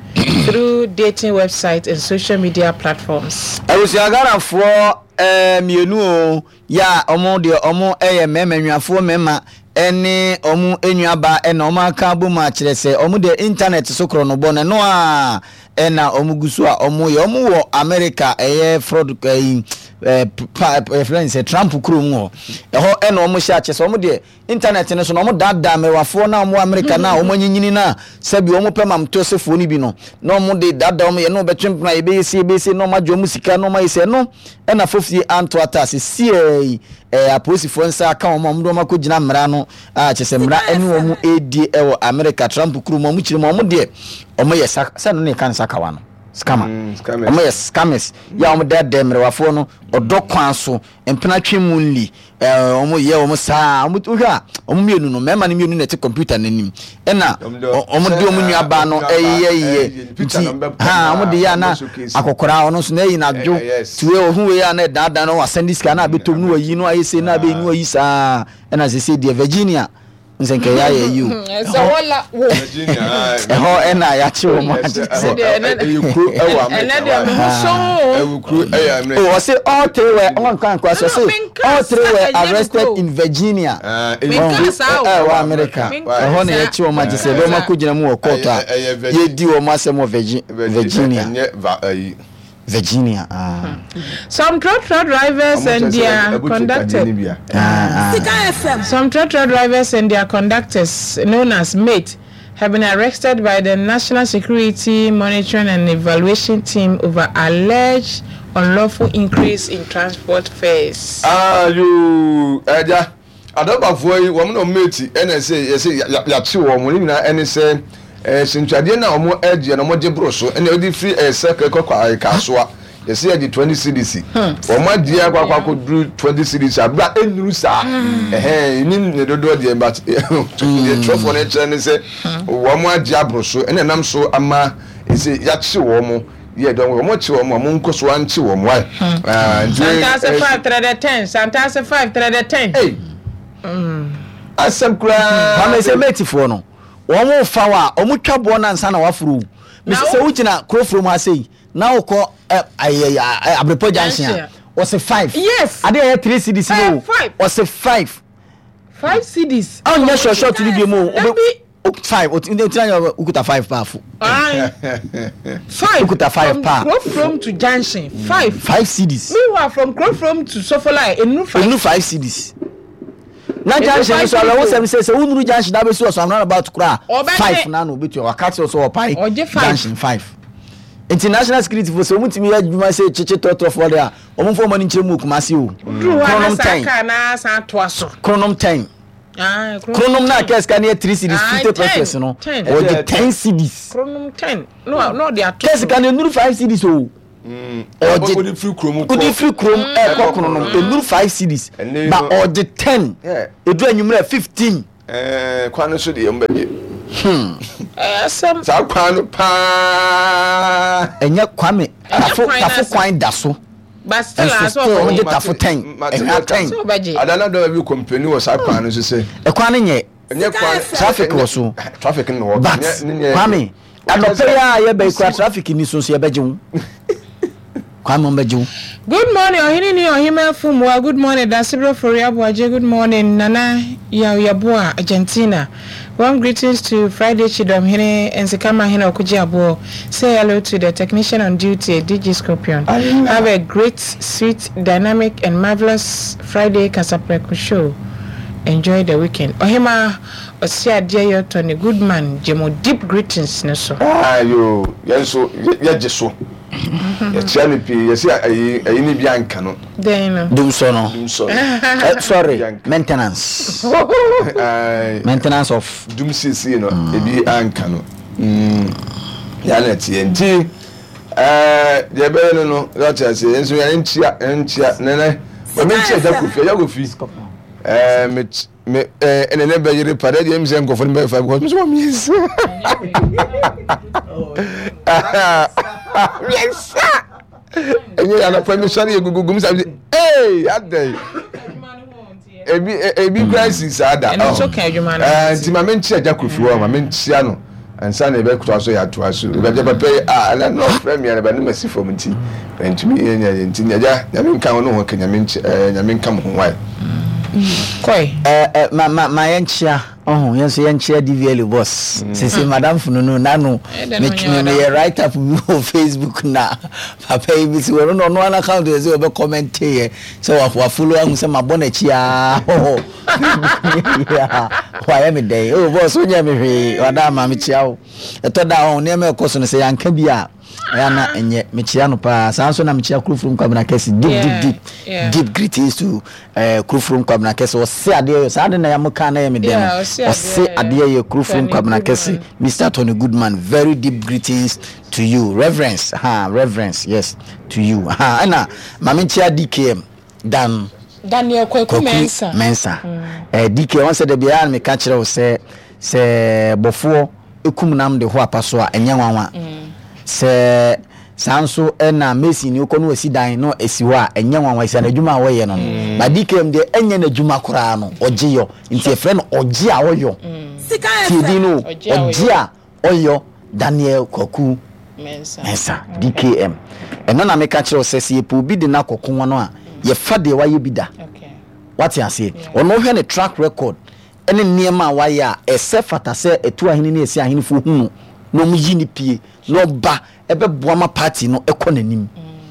through dating websites and social media platforms. Abusua, Ghanafoɔ ɛɛ mmienu o yɛ a ɔmo deɛ ɔmo ɛyɛ mmarima nnuafoɔ mmarima ɛne ɔmo nnuaba ɛna ɔmo aka abom akyerɛ sɛ ɔmo deɛ internet so korɔ no bɔ no ɛno a ɛna ɔmo gu so a ɔmo yɛ. Ɔmo wɔ America, ɛyɛ fraud ɛyi ɛɛ pa ɛfrɛ no sɛ Trump kurom hɔ. Ɛhɔ ɛna ɔmo hyɛ akyɛ sɛ ɔmo deɛ internet no so na ɔmo daadaa mmerewafoɔ na ɔmo wɔ America na ɔmo anyinyini na sɛbi ɔmo pɛ mamtosefoɔ no bi no na ɔmo de daadaa ɔmo yɛ na ɔbɛtwe mpena yɛbɛyɛ sie yɛbɛyɛ sie na ɔmo agye ɔmo sika na ɔmo ayɛ sɛ ɛno ɛna fofie anto ata ase sie yi. Ɛɛ apolisifoɔ nsa aka wɔn a wɔn de wɔn akɔgyina mmara no a kyerɛ sɛ mmara ɛne wɔn ɛredie ɛwɔ America Trump kurom. Wɔn kyerɛ mu wɔn deɛ wɔn yɛ sa sɛ no ne yɛka no sakawa no scammer. Mm, scammers. Wɔn yɛ scammers yɛ a wɔn daadaa mmerewafoɔ no ɔdɔ kwan so mpena twe mu nli. Ɛɛ wɔn yɛ wɔn saa wɔn wohwɛ a wɔn mmienu no, mmarima no mmienu na ɛte computer n'anim ɛna Wɔn de- wɔn de wɔn nua baa no sɛ, ɛyɛ ɛyɛ, yɛ picture nti no bɛpɔ ha na wɔn de yɛ ana wɔn bɛ showcase. Akɔkora ɔno nso na ɛyi n'adwo Eh, eh, yes. tiwe ohun wei a na ɛdaadaa no wasɛn sika na abɛtɔm no wayi no ayɛ se na abɛyi no wayi saa. Ɛna sese deɛ Virginia nsɛnkɛyɛ ayɛ yi o. Sɛ wɔla wo. Virginia, ah, ɛhɔ ɛna yɛakye wɔn agye ɛhɔ- sɛ ɛ- ɛyɛ kuro ɛwɔ ɛnɛ America. deɛ me ho so Ɛwɔ kuro ɛyɛ America. Oh, ɔse all three were ɔn kan kwa so No, ɔse menka all three were saa, ɛnyɛ arrested kuro. in Virginia. Ah, ɛyɛ Menka kuro saa o. Ɛwɔ America. Menka Ɛhɔ na saa. yɛkye wɔn agye sɛ ɛbɛn akɔ gyina mu wɔ court a Ɛyɛ- ɛyɛ Virgi- yɛdi wɔn asɛm wɔ Virgi- Virginia. Ɛnyɛ va ɛyi. Virginia, ah. Some trotro drivers and their conductors. Ah, ah. Sika F M. Some trotro drivers and their conductors, known as mate, have been arrested by the National Security Monitoring and Evaluation Team over alleged unlawful increase in transport fares. Ayo, ɛgya adɔbafoɔ yi wɔn na wɔn mate ɛna ɛsɛ yɛsɛ yɛakye wɔn ne nyinaa ɛne sɛ ɛɛ sentwadeɛ na wɔn ɛgye na wɔn gye boro so ɛna wɔde firi ɛɛ sɛkɛ kɔkɔ ɛɛ Kasoa yɛsɛ yɛgye twenty cedis, wɔn agye akɔ akɔ akɔ duru twenty cedis abira enuru saa ɛhɛn ni ne dodoɔ deɛ, but deɛ twerɛfoɔ no kyerɛ ne sɛ wɔn agye aboro so ɛna ɛnam so ama ɛsɛ yɛakye wɔn yɛ dɔn wɔn kye wɔn a wɔn nkɔ so ankye wɔn wae. Nti Santase five three the ten. Santase five three the ten. Hey. Asɛm koraa. Kwame sɛ matefoɔ no wɔn fa wa wɔn twa boɔ na nsa na waforo o mesi sɛ wogyina kurofuro mu ase yi na wokɔ Abrepɔ junction a ɔse five. Yes. Ade a ɛyɛ three cedis no o. Five. Ɔse five. Five cedis. Ɔnyɛ short short no bi mu o. Dabi. Five. O ti na yɛ ukuta five paa fo. Aye. Five. Ukuta five paa. From Krofrom to junction five. Five cedis. Meanwhile from Krofrom to Sofola enu five. Enu five cedis. Na junction nso awɛ wosɛm sɛ sɛ wonuru junction na abɛsi ɔsɔ amuna about koraa five na na obetua waka kyerɛ sɛ ɔpae junction five. Nti national security fo sɛ wɔn tumi yɛ adwuma sɛ kyekye tɔtɔfoɔ de a wɔn mfo wɔn ani nkyerɛ mu wɔ Kumasi o. Kronom ten. Kronom ten. Kronom na kɛse ka ne yɛ three cedis fifty pesos no ɔgye ten cedis. Kronom ten na ɔde ato. Kɛse ka ne nuru five cedis o. Ɔgye odi firi kurom kɔ odi firi kurom ɛkɔ Kronom enuru five cedis ba ɔgye ten edu enyimrɛ fifteen. Ɛɛ kwan no so deɛ mbɛ gye. Hmm. Ɛsɛm. Saa kwan no paa. Ɛnyɛ Kwame tafo tafo kwan da so. But still nso still wɔn gye tafo ten ɛhwa ten. Adana dɔw bi kɔmpani wɔ saa kwan no so sɛ. Ɛkwan no nyɛ. Ɛnyɛ kwan traffic wɔ so. Traffic no wɔ. But Kwame anɔpɛ yi a yɛbɛ kura traffic ni so nso yɛbɛgye wo. Kwame wɔn bɛgye wo. Good morning, Ohene ni Ohima Fumwa. Good morning, Dasibro Foriabuaje. Good morning, Nana Yaw Yeboah, Argentina. Warm greetings to Friday Chidom Hene and Sikama Hene Okuji Abo. Say hello to the technician on duty, D J Scorpion. Have a great, sweet, dynamic, and marvelous Friday Kasapreko show. Enjoy the weekend. Ohima Osia Dear Tony Goodman, Jemo, deep greetings, Neso. Ah, yo, yenso, yejiso. Yɛkyia pii yɛsi ayi ayi ni bi anka no. Den no. Dumso no. Dumso. Uh, sorry, maintenance. Maintenance of. Dum sisi no ebi anka no. Mm. Ya na tie nti eh de be no no yɛkyia se nso yɛn nkyia nkyia nene. Ma me nkyia Jakofi, Jakofi. Eh me me eh nene be yere pa de de mi se nkofo no be fa because me so mi nsa. Yes. Enye ya na permission ye gugugu mi sabi. Eh, adai. Ebi ebi crisis ada. Eno so kan adwuma no. Eh, nti ma me nkyia Jakofi wo, ma me nkyia no. Ansa na ebe kuto so ya to aso. Ebe je papa ah na no premier na ba no masi fom nti. Ntumi ye nya nti nya ja nya me nka wo no ho ka nya me nkyia eh nya me nka mo ho wai. Koi. Eh eh ma ma ma ye nkyia. Oh, yes, yenchia D V L boss. Since Madam Fununu nanu me me write up on Facebook na papa yi si we no no an account dey say we comment here. So wa follow am say ma bona chia. Oh. Yeah. Why am day? Oh boss, onya me hwe. Wada ma me chia o. Eto da on ne me ekoso no say yanka bi a. Ya na enye me chia no pa. San so na me chia Krofrom Kwabena Kese. Deep deep deep. Yeah. Deep greetings to eh Krofrom Kwabena Kese. O se ade so ade na ya mo ka na ye me dem. Yeah, O se ade ye Krofrom Kwabena Kese. Mister Tony Goodman, very deep greetings to you. Reverence, ha, reverence, yes, to you. Ha, na ma me chia D K M Dan Daniel Kwaku Mensah. Mensah. Eh D K on said the bia me ka kire wo se se bofo ekum nam de ho apaso a enye nwanwa. Se sanso na Messi ni okonu esi dan no esi ho a enye nwanwa esi na adwuma a wo ye no. Ba D K M de enye na adwuma kora no ogye yo. Nti e frɛ no ogye a woyo. Sika Ti no Ogye ogye a oyo Daniel Kwaku Mensah. Mensah D K M. Eno na me ka kire wo se se epo obi de na kokon no a ye fa de wa ye bi da. Okay. What you say? Ono hwe ne track record ene niema wa ye a ese fata se etu ahene ne esi ahene fo hunu no mu yi ni pie no ba ebe boama party no ekɔ n'anim.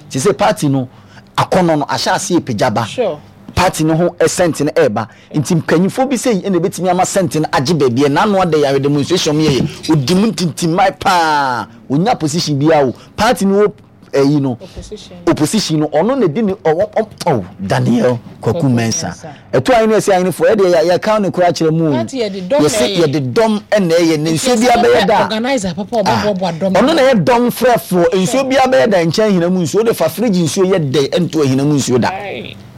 Ti se party no akɔnɔ no ahyɛ ase epagya. Sure. Party no ho sent no eba nti mpanyimfo bi sei na betimi ama sent no agye baabi na no ade ya demonstration ye odi mu ntintimai pa onya position bia o party no eh no opposition opposition no ono na di ni oh Daniel Kwaku Mensah eto ayi na esi ayi fo e de ya ka ne kura kire mu party ye de dom ye se ye de dom e na ye ne nsuo bia be ye da organizer papa obo bo dom ono na ye dom frefo nsuo bia be ye da nchen hina mu nsuo de fa fridge nsuo ye de ento hina mu nsuo da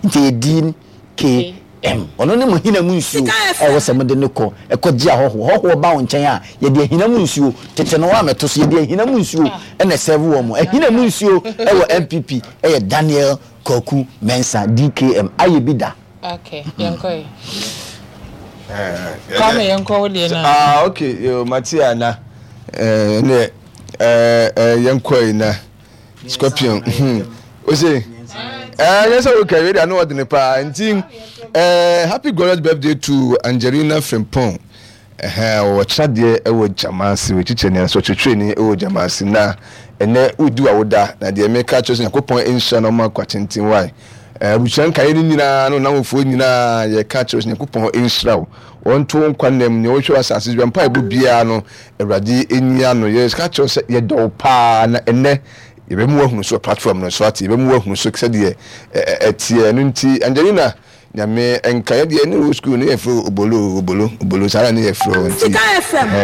nti D K M ono ne mo hina mu nsuo e wo se mo de ne ko e ko gi ahoho hoho ba wo nchen a ye de hina mu nsuo tete no wa meto so ye de hina mu nsuo e na serve wo mo e hina mu nsuo e wo M P P e ye Daniel Kwaku Mensah D K M aye bi da. Okay, yanko eh Kwame yanko wo de na. Ah okay, yo Matia na eh ne eh eh yanko na Scorpion. O se ɛɛ yɛ sɛ o kɛ wei ano ɔdene paa nti ɛɛ happy glorious birthday to Angelina Frimpong. Ɛhɛn ɔwɔ kyerɛdeɛ ɛwɔ Jamasi wɔ kyikyɛ ni nso ɔkyerɛkyerɛ ni ɛwɔ Jamasi na ɛnɛ wodi wa woda na deɛ meka kyerɛ sɛ Nyankopɔn nhyira na ɔma akwa tenten wae. Abusua nkaeɛ no nyinaa no namfoɔ nyinaa yɛka kyerɛ sɛ Nyankopɔn nhyira wo, wɔnto nkwa nam nea wɔhwɛ wɔ asase so mpa ɛbɔ biara no Awurade nyia no. Yɛka kyerɛ sɛ yɛdɔ wo paa na ɛnɛ yɛbɛmu wahunu so platform no so ate, yɛbɛmu wahunu so sɛdeɛ ɛteɛ no. Nti Angelina, Nyame nka yɛ deɛ ne wɔ school ne yɛfrɛ obolo obolo obolo saa na ne yɛfrɛ nti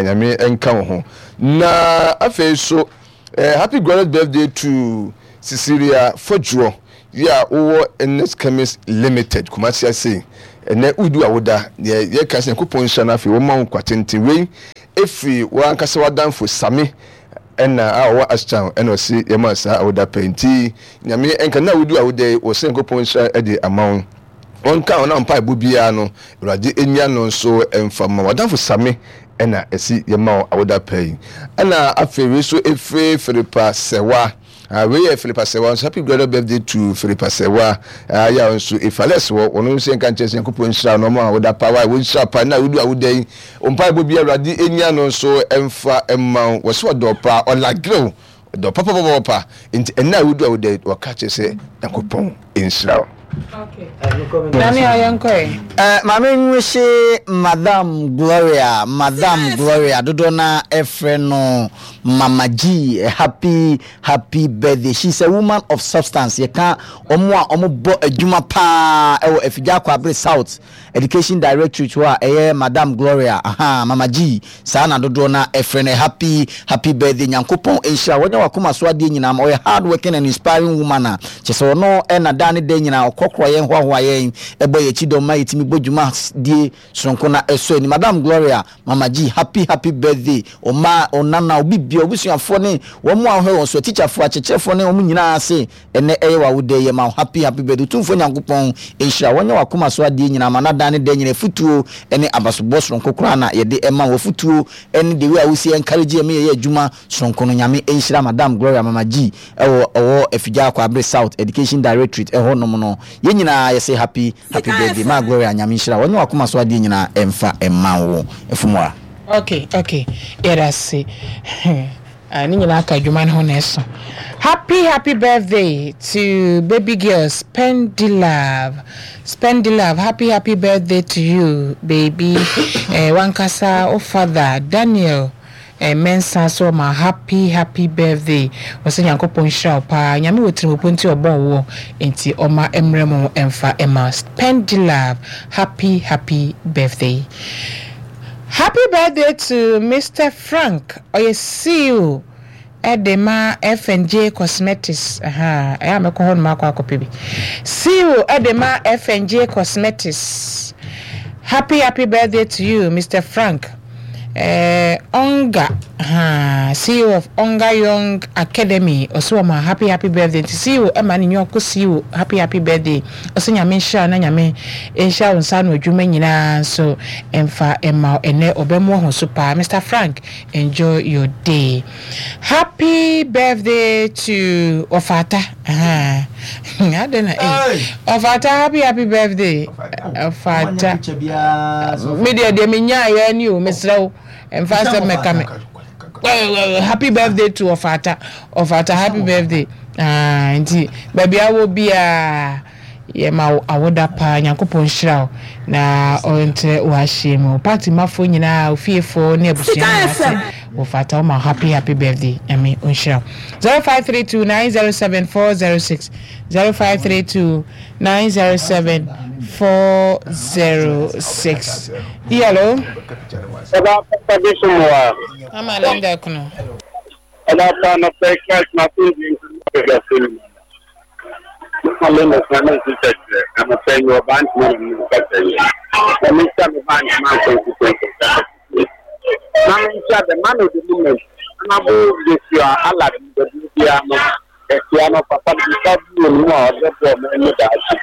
Nyame nka wo ho. Na afei so eh, happy glorious birthday to Cecilia Fodjuo yi a wowɔ Ernest Chemist Limited Kumasi ase. Ɛnɛ wodi awoda, deɛ yɛka sɛ Nyankopɔn nhyira no afei wɔma wo nkwa tenten. Wei ɛfiri w'ankasa w'adamfo Same ɛna a ɔwɔ Ashtown ɛna ɔse yɛma saa awoda pɛ. Nti Nyame ɛnka na wodi awoda yi wɔ sɛ Nyankopɔn nhyira ɛde ama wo, wɔnka wɔn a mpaebɔ biara no Awurade enya no nso ɛmfa ma w'adamfo Same ɛna ɛsi yɛma wo awoda pɛ yi. Ɛna afei wei so ɛfiri Philippa Sɛwa. Ah, wei yɛ Philippa Sɛwa nso, happy glorious birthday to Philippa Sɛwa. Ah, yɛ nso Efales wɔ wɔn nso yɛnka nkyɛn sɛ Nyankopɔn nhyira no ɔmo awoda pa wa wɔnhyira pa na wodi awoda yi mpaebɔ bi Awurade enya no nso ɛmfa ɛma wo. Wɔsɛ ɔdɔ pa ɔlagrew ɔdɔ papapapa nti ɛna wodi awoda yi wɔka kyerɛ sɛ Nyankopɔn nhyira wo. Uh, Maame nwehye Madam Gloria, Madam Gloria dodoɔ na ɛfrɛ no Mama G, happy happy birthday. She's a woman of substance. Yɛka ɔmo a ɔmo bɔ adwuma paa ɛwɔ Afigya Kwabre South Education Directorate hɔ a ɛyɛ Madam Gloria, aha Mama G saa na dodoɔ na ɛfrɛ no. Happy happy birthday, Nyankopɔn nhyira wɔnyɛ wakoma so adeɛ nyinaa. Ɔyɛ hard working and inspiring woman a kyɛ sɛ ɔno ɛna da ne da nyinaa ɔkɔkorɔ yɛn hoahoa yɛn ɛbɔ yɛn akyi dɔm ma yɛtumi bɔ dwuma die soronko na ɛsɔ ani. Madam Gloria, Mama G, happy happy birthday. Ɔma ɔnana obi bia obusuafoɔ ne wɔn a wɔhwɛ wɔn so, atikyafoɔ, akyerɛkyerɛfoɔ ne wɔn nyinaa ase ɛnɛ ɛyɛ w'awoda yɛ ma happy happy birthday. Otumfoɔ Nyankopɔn nhyira wɔnyɛ wakoma so adeɛ nyinaa ma nadan ne da nyinaa futuo ne abasobɔ soronko koraa na yɛde ɛma wɔ futuo ne the way a wosi encourage yɛ me yɛyɛ adwuma soronko no. Nyame nhyira Madam Gloria, Mama G, ɛwɔ ɔwɔ Afigya Kwabre South Education Directorate ɛhɔ nom no. Yɛn nyinaa yɛsɛ happy happy birthday ma Gloria. Nyame nhyira wɔnyɛ wakoma so adeɛ nyinaa ɛmfa ɛma wo ɛfumua. Okay, okay, yɛda se ne nyinaa ka adwuma no ho na ɛso. Happy happy birthday to baby girl Spendy Love, Spendy Love, happy happy birthday to you, baby. eh, wankasa o father Daniel eh, Mensa so ma happy happy birthday. Wɔsɛ Nyankopɔn nhyira wo paa. Nyame wɔ tirimopɔ nti ɔbɔ wo nti ɔma mmerɛ mu ɛmfa ɛma Spendy Love. Happy happy birthday. Happy birthday to Mister Frank, ɔyɛ C E O ɛde ma F and J Cosmetics. Ɛyɛ a mɛkɔ hɔ nom akɔ akɔpɛ bi. C E O ɛde ma F and J Cosmetics, happy happy birthday to you, Mister Frank. eh, Onga ha, C E O of Onga Young Academy, ɔsɛ wɔn happy happy birthday. Nti C E O ɛma ne nyɔnko C E O happy happy birthday. Ɔsɛ Nyame nhyira na Nyame nhyira wɔn nsa ano adwuma nyinaa nso mfa ɛma ɛnɛ ɔbɛmo ho so paa. Mister Frank, enjoy your day. Happy birthday to Ɔfata. Adɛn na eh Ɔfata, happy happy birthday Ɔfata. Me deɛ deɛ menyaayɛ ni o, mesrɛ wo, mfa sɛ mɛka me happy birthday to Ɔfata. Ɔfata, happy birthday. Ah, nti baabi awɔ biara yɛma awoda paa. Nyankopɔn nhyira wo na ɔntrɛ w'ahyia mu. Party mafoɔ nyinaa, ofiefoɔ ne abusua nyinaa sɛ wɔfata woma happy happy birthday. Nyame ɔnhyira wo. zero five three two nine zero seven four zero six, zero five three two nine zero seven four zero six. Hello. Ama Linda kuno. Ọba na fẹ́ Christ na fún di nkiri. Mama na nsi kyerɛ na fẹ́ yi ọba ntoma na mu kasa yi. Na mi nsa mi ba ntoma constituency. Na mi nsa the man of the moment. Honorable Joshua Alad baabi no ɛsia no papa no nsa bi wɔ mu a ɔde bɔ ɔmo ani daakye.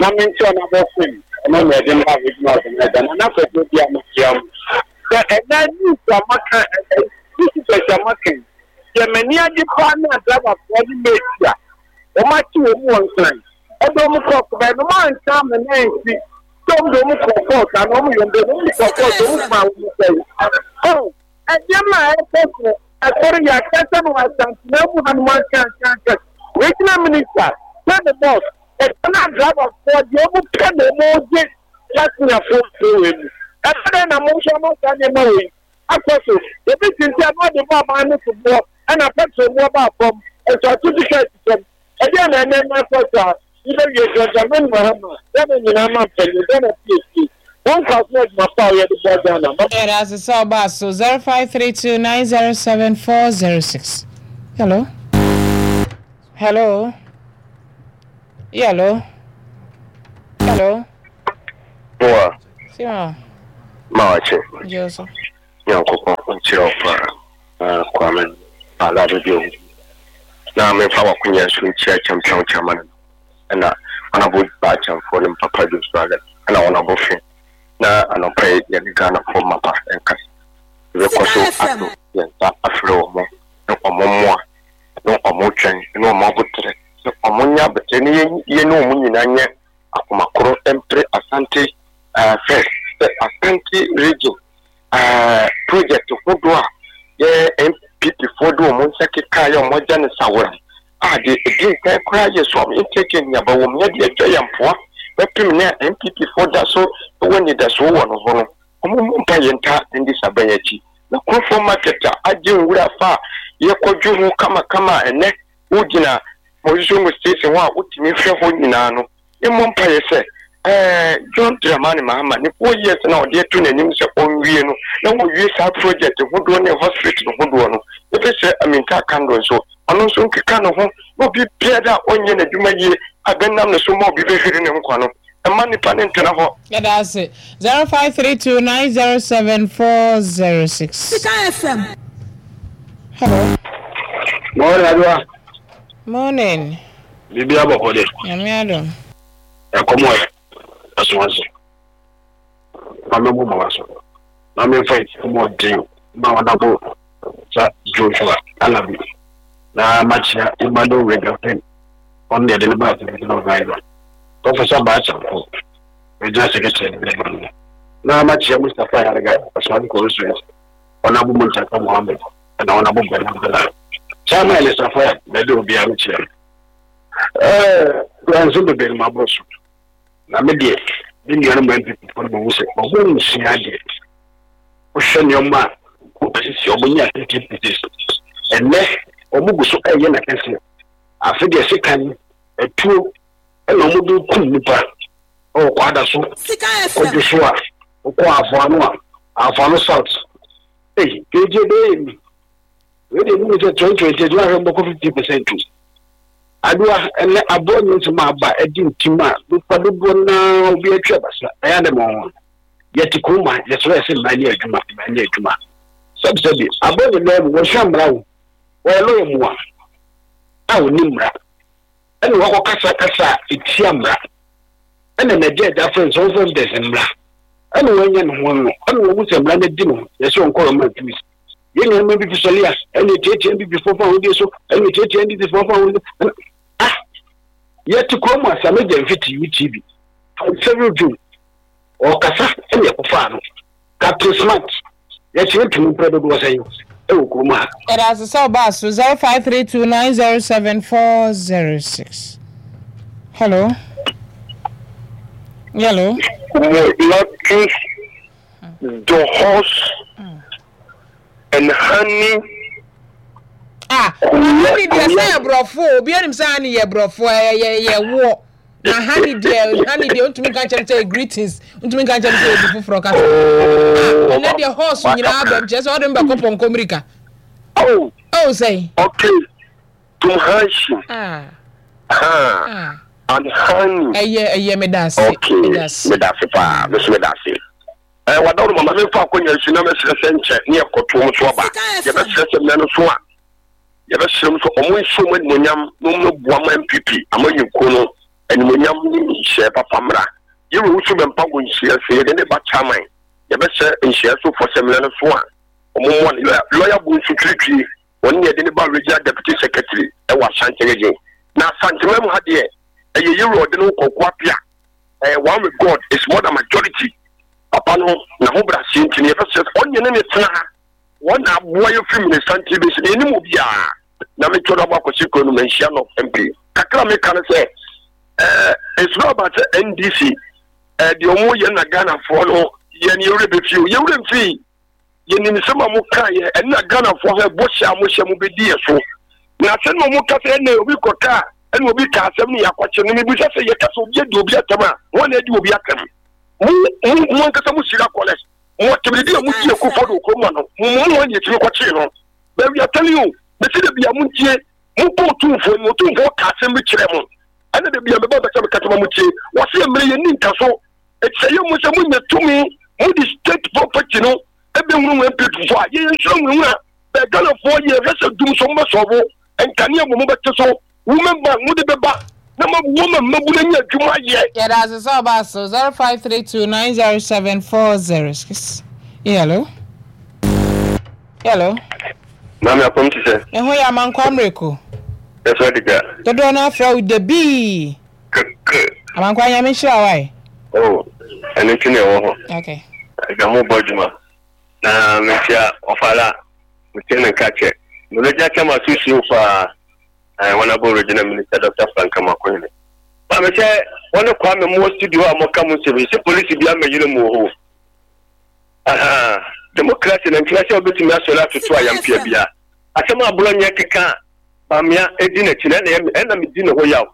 Na mi nsa ɔnabɔ fam ɔno na ɛde mba regional organizer na n'akɔkɔ bi a mo kyia mu. Sɛ ɛnɛ news a maka ɛ ɛ newspapers a maka yi Deɛ m'ani agye paa ne adrabafoɔ ne mate a wɔn akye wɔn mu wɔ Nkran ɛde wɔn kɔ kɔbɛn no wɔn ansa ama ne ansi sɛ wɔn de wɔn kɔ court ana wɔn yɛ wɔn de wɔn kɔ court wɔn fa wɔn sɛn ɔn ɛnneɛma a ɛkɔ so ɛkɔrɔ yɛ akasa no wɔ Asantena mu hanom ankankanka. Regional minister sɛ ne boss ɛka na adrabafoɔ deɛ wɔn pɛ na wɔn gye passengerfoɔ fo wɔ mu ɛbɛn dɛ na mo nso ama saa nneɛma wɔ yi akɔ so. Ebi tinti a na ɔde bɔ aban no so boɔ ɛna petrol mu ɔba fam nso ato ticket fam ɛdeɛ na ɛnɛ na akɔ so a yɛbɛwie. John Dramani Mahama, Ghana nyinaa ma mpanyin, Ghana piesie wɔn nkwa so adwuma pa a yɛde bɔ Ghana. Yɛda ase sɛ ɔbaa so. Zero five three two nine zero seven four zero six. Hello, hello, hello, hello. Boa. Sima. Ma wakye. Joseph. Nyankopɔn nkyerɛ wo paa. Na Kwame ala bɛbi ohu. Na memfa wakonya so nkyia champion chairman no. Ɛna ɔnabo baakyɛmfoɔ ne mpapa Joshua ɛna ɔnabo fe. Na anɔpa yi yɛne Ghanafoɔ mapa ɛnkasa. Yɛbɛkɔ so ato yɛn nsa afrɛ wɔn ne ɔmo mmoa ne ɔmo twɛn ne ɔmo abotrɛ sɛ ɔmo nyɛ abɛtɛ ne yɛn yɛne ɔmo nyinaa nyɛ akoma koro mpere Asante uh, first sɛ Asante Region uh, project hodoɔ a yɛ N P P foɔ de wɔn nsa keka yɛ wɔn agya ne sawora a de edi nkan koraa yɛ so interchange nyaba wɔn yɛde atwa yɛn mpoa bɛpem ne a N P P foɔ da so wɔ nidasoɔ wɔ no ho no, wɔn mu mpa yɛn nta ndi saban akyi na Kurofo market a agye nwura fa a yɛkɔdwo ho kamakama a ɛnɛ wogyina Mɔsisongo station hɔ a wotumi hwɛ hɔ nyinaa no, yɛmmɔ mpa yɛ sɛ ɛɛ John Dramani Mahama ne four years na ɔde ato n'anim sɛ ɔnwie no na wɔwie saa project hodoɔ ne hospital hodoɔ no. Ebi sɛ Aminta Kando nso, ɔno nso nkeka ne ho na obi biara a ɔnyɛ n'adwuma yie a bɛnam ne so ma obi bɛhwere ne nkwa no, ɛma nipa ne ntena hɔ. Yɛda ase. Zero five three two nine zero seven four zero six. Sika F M. Hello. Morning, Adwoa. Morning. Biribi abɔkɔ de. Nyame adom. Ɛkɔm ɔyɛ ɛso ase. Ma mɛbɔ ma wa so. Na memfa ɛkɔm ɔden ma ɔnabo sa Joshua Alabi. Na makyia Emmanuel Regafen. Ɔno deɛ de ne baa television organizer. Professor Baakyɛmfo. Regional Secretary ne ba no. Na makyia Mustapha Yarega Ɔsɔre Constituency. Ɔnabo Muntaka Mohammed. Ɛna ɔnabo Bernard Bernard. Chairman Elisa Fire, baabi a obiara mekyia no. Ɛɛ nso bebree no maboro so. Na me deɛ, me nuanom N P P foɔ no mahu sɛ ɔmo nsua adeɛ. Wohwɛ nneɛma a wɔsisi ɔmo nyɛ fifty pieces. Ɛnɛ ɔmo gu so ɛyɛ n'akɛseɛ. Afe deɛ sekan atuo ɛna ɔmo de kum nipa ɛwɔ Kwada so. Sika Kɔdwo F M. so a wokɔ Afoano a Afoano South. Ei, kegye bɛyɛ mi. Wei deɛ mu sɛ twenty twenty eight wahwɛ mbɔkɔ fifty percent o. Adoa, ɛnɛ aboɔ nyɛ nsɛm a aba ɛdi ntim a nipa dodoɔ naa obi atwa abasa ɛyɛ adɛ ma wɔn. Yɛte kurom a yɛsrɛ yɛ sɛ mmaa nyɛ adwuma, mmaa nyɛ adwuma. Sɛbisɛbi, aboɔ nyɛ lɔya mu wɔsua mmara o. Wɔyɛ lɔya mu a a wɔni mmara. Ɛna wakɔ kasa kasa a etia mmara. Ɛna n'agya agya fɛn sɛ ɔfɛn dɛsɛ mmara. Ɛna wɔanya ne ho no. Ɛna wɔn sɛ mmara no di ne ho. Yɛsɛ ɔnkɔ ɔma juice. Yɛn nuanom N P P sɔle a ɛna tietie N P P foɔ fa ahodie so, ɛna tietie N D C foɔ fa ahodie ɛna ah yɛte kurom a Sammy Gyamfi te U T V seven June ɔkasa ɛna ɛkɔfaa no. Captain Smart yɛkyerɛ ntumi mpɛ dodoɔ sɛn ɛwɔ kurom ha. Yɛda ase sɛ ɔbaa so. Zero five three two nine zero seven four zero six. Hello, hello. Lotus, the horse and honey. Ah, honey deɛ sɛ yɛ borɔfo, obi anim sɛ honey yɛ borɔfo, ɛyɛ yɛ yɛ woɔ na honey deɛ, honey deɛ ntumi nka nkyɛn sɛ greetings, ntumi nka nkyɛn sɛ obi foforɔ kasa. Ah, ɛnɛ deɛ horse nyinaa bɛm kyerɛ sɛ ɔde mbɛkɔ pɔnkɔ mirika. Oh. Oh, sɛn. Okay. Tumhanshi. Ah. Ha. Ah. And honey. Ɛyɛ ɛyɛ meda ase. Okay. Meda ase. Meda ase paa. Meso meda ase. Eh, wada no mama memfa akɔnya nsu na mɛsrɛ sɛ nkyɛ ne yɛkɔto mu so aba. Yɛbɛsrɛ sɛ mmerɛ no so a yɛbɛsrɛ mu so ɔmo nhyɛ ɔmo animonyam na ɔmo boa ma N P P amanyɔkuo no animonyam ne nhyɛ papa mmra. Yɛwɔ wusu bɛmpa wɔ nhyia sɛ yɛde ne ba chairman, yɛbɛhyɛ nhyia so fɔ sɛ mmerɛ no so a ɔmo mmoa no. Lɔya bu nso twiritwi Wɔn yɛ de ne ba regional deputy secretary ɛwɔ Ashanti Region. Na Asante mu ha deɛ, ɛyɛ yɛwura ɔde no kɔkɔ apia. Ɛɛ one with God is more than majority. Papa no na ho bra sie nti ne yɛbɛsɛ sɛ ɔnyɛ ne ne tena ha. Wɔn na aboa yɛ firi Minnesota bɛsi na yɛnim obiara. Na metwa no abɔ akɔsi kuro no manhyia no M P. Kakra meka no sɛ ɛɛ it's not about sɛ N D C ɛɛ deɛ ɔmo yɛ na Ghanafoɔ no yɛ ne yɛwura bɛfie o, yɛwura mfii. Yɛnim nsɛm a moka yɛ ɛne na Ghanafoɔ hɛ bɔhyɛ a mohyɛ mo bɛdi yɛ so. Na asɛm na ɔmo ka sɛ ɛnna obi kɔka a ɛna obi ka asɛm no yɛ akɔkyɛ no, mebisa sɛ yɛka sɛ obi adi obi atɛm a, wɔn na adi obi atɛm? Mo mo mo ankasa mo sira kɔlɛs mo tɛmidi a mo di Akufo do kurom ano mo mo mo wɔn yɛ tumi kɔkyee no. But we are telling you, bɛsi de bia mo ntie, mo kɔ Otumfoɔ ni, Otumfoɔ ka asɛm bi kyerɛ mo. Ɛna de bia meba bɛsɛ meka kyerɛ mo tie, wɔsi mmerɛ yɛ ni nka so ɛkyɛ yɛ mo sɛ mo nya tumi, mo de state property no ebɛhunu wɔn N P P fo a yɛyɛ nsuro nwunwuna bɛɛ. Ghanafoɔ yɛ hwɛ sɛ dum so mo bɛ sɔɔbo nkanea mo mo bɛte so, women bank mo de bɛba na mo wɔn mmabu na nya adwuma yɛ. Yɛda ase sɛ ɔba so. Zero five three two nine zero seven four zero six. Hello, hello. Maame, apɔm ti sɛ? Ɛho yɛ, Amankwa Mmereko. Ɛsɛ de gya. Dodoɔ no afrɛ wo dabii. Kɛkɛ. Amankwa, Nyame nhyira wo ae. Oh, ɛno nti na ɛwɔ hɔ. Okay. Ɛgya mo bɔ adwuma. Na mekyia ɔfala, mekyia ne nka kyɛ. Meregya kyɛ ma so suo paa. Ɛɛ wɔn abɔ Regional Minister Doctor Frank Amoakohene. Maame, sɛ wɔne Kwame mo wɔ studio a moka mo nsɛm yi sɛ polisi bi amɛyere mu wɔ hɔ. Aha, democracy na nkyerɛ sɛ wobɛtumi asɔre atoto ayampia bia. Asɛm a Abronye keka a Bawumia edi n'akyi na ɛna ɛna medi ne ho yaw.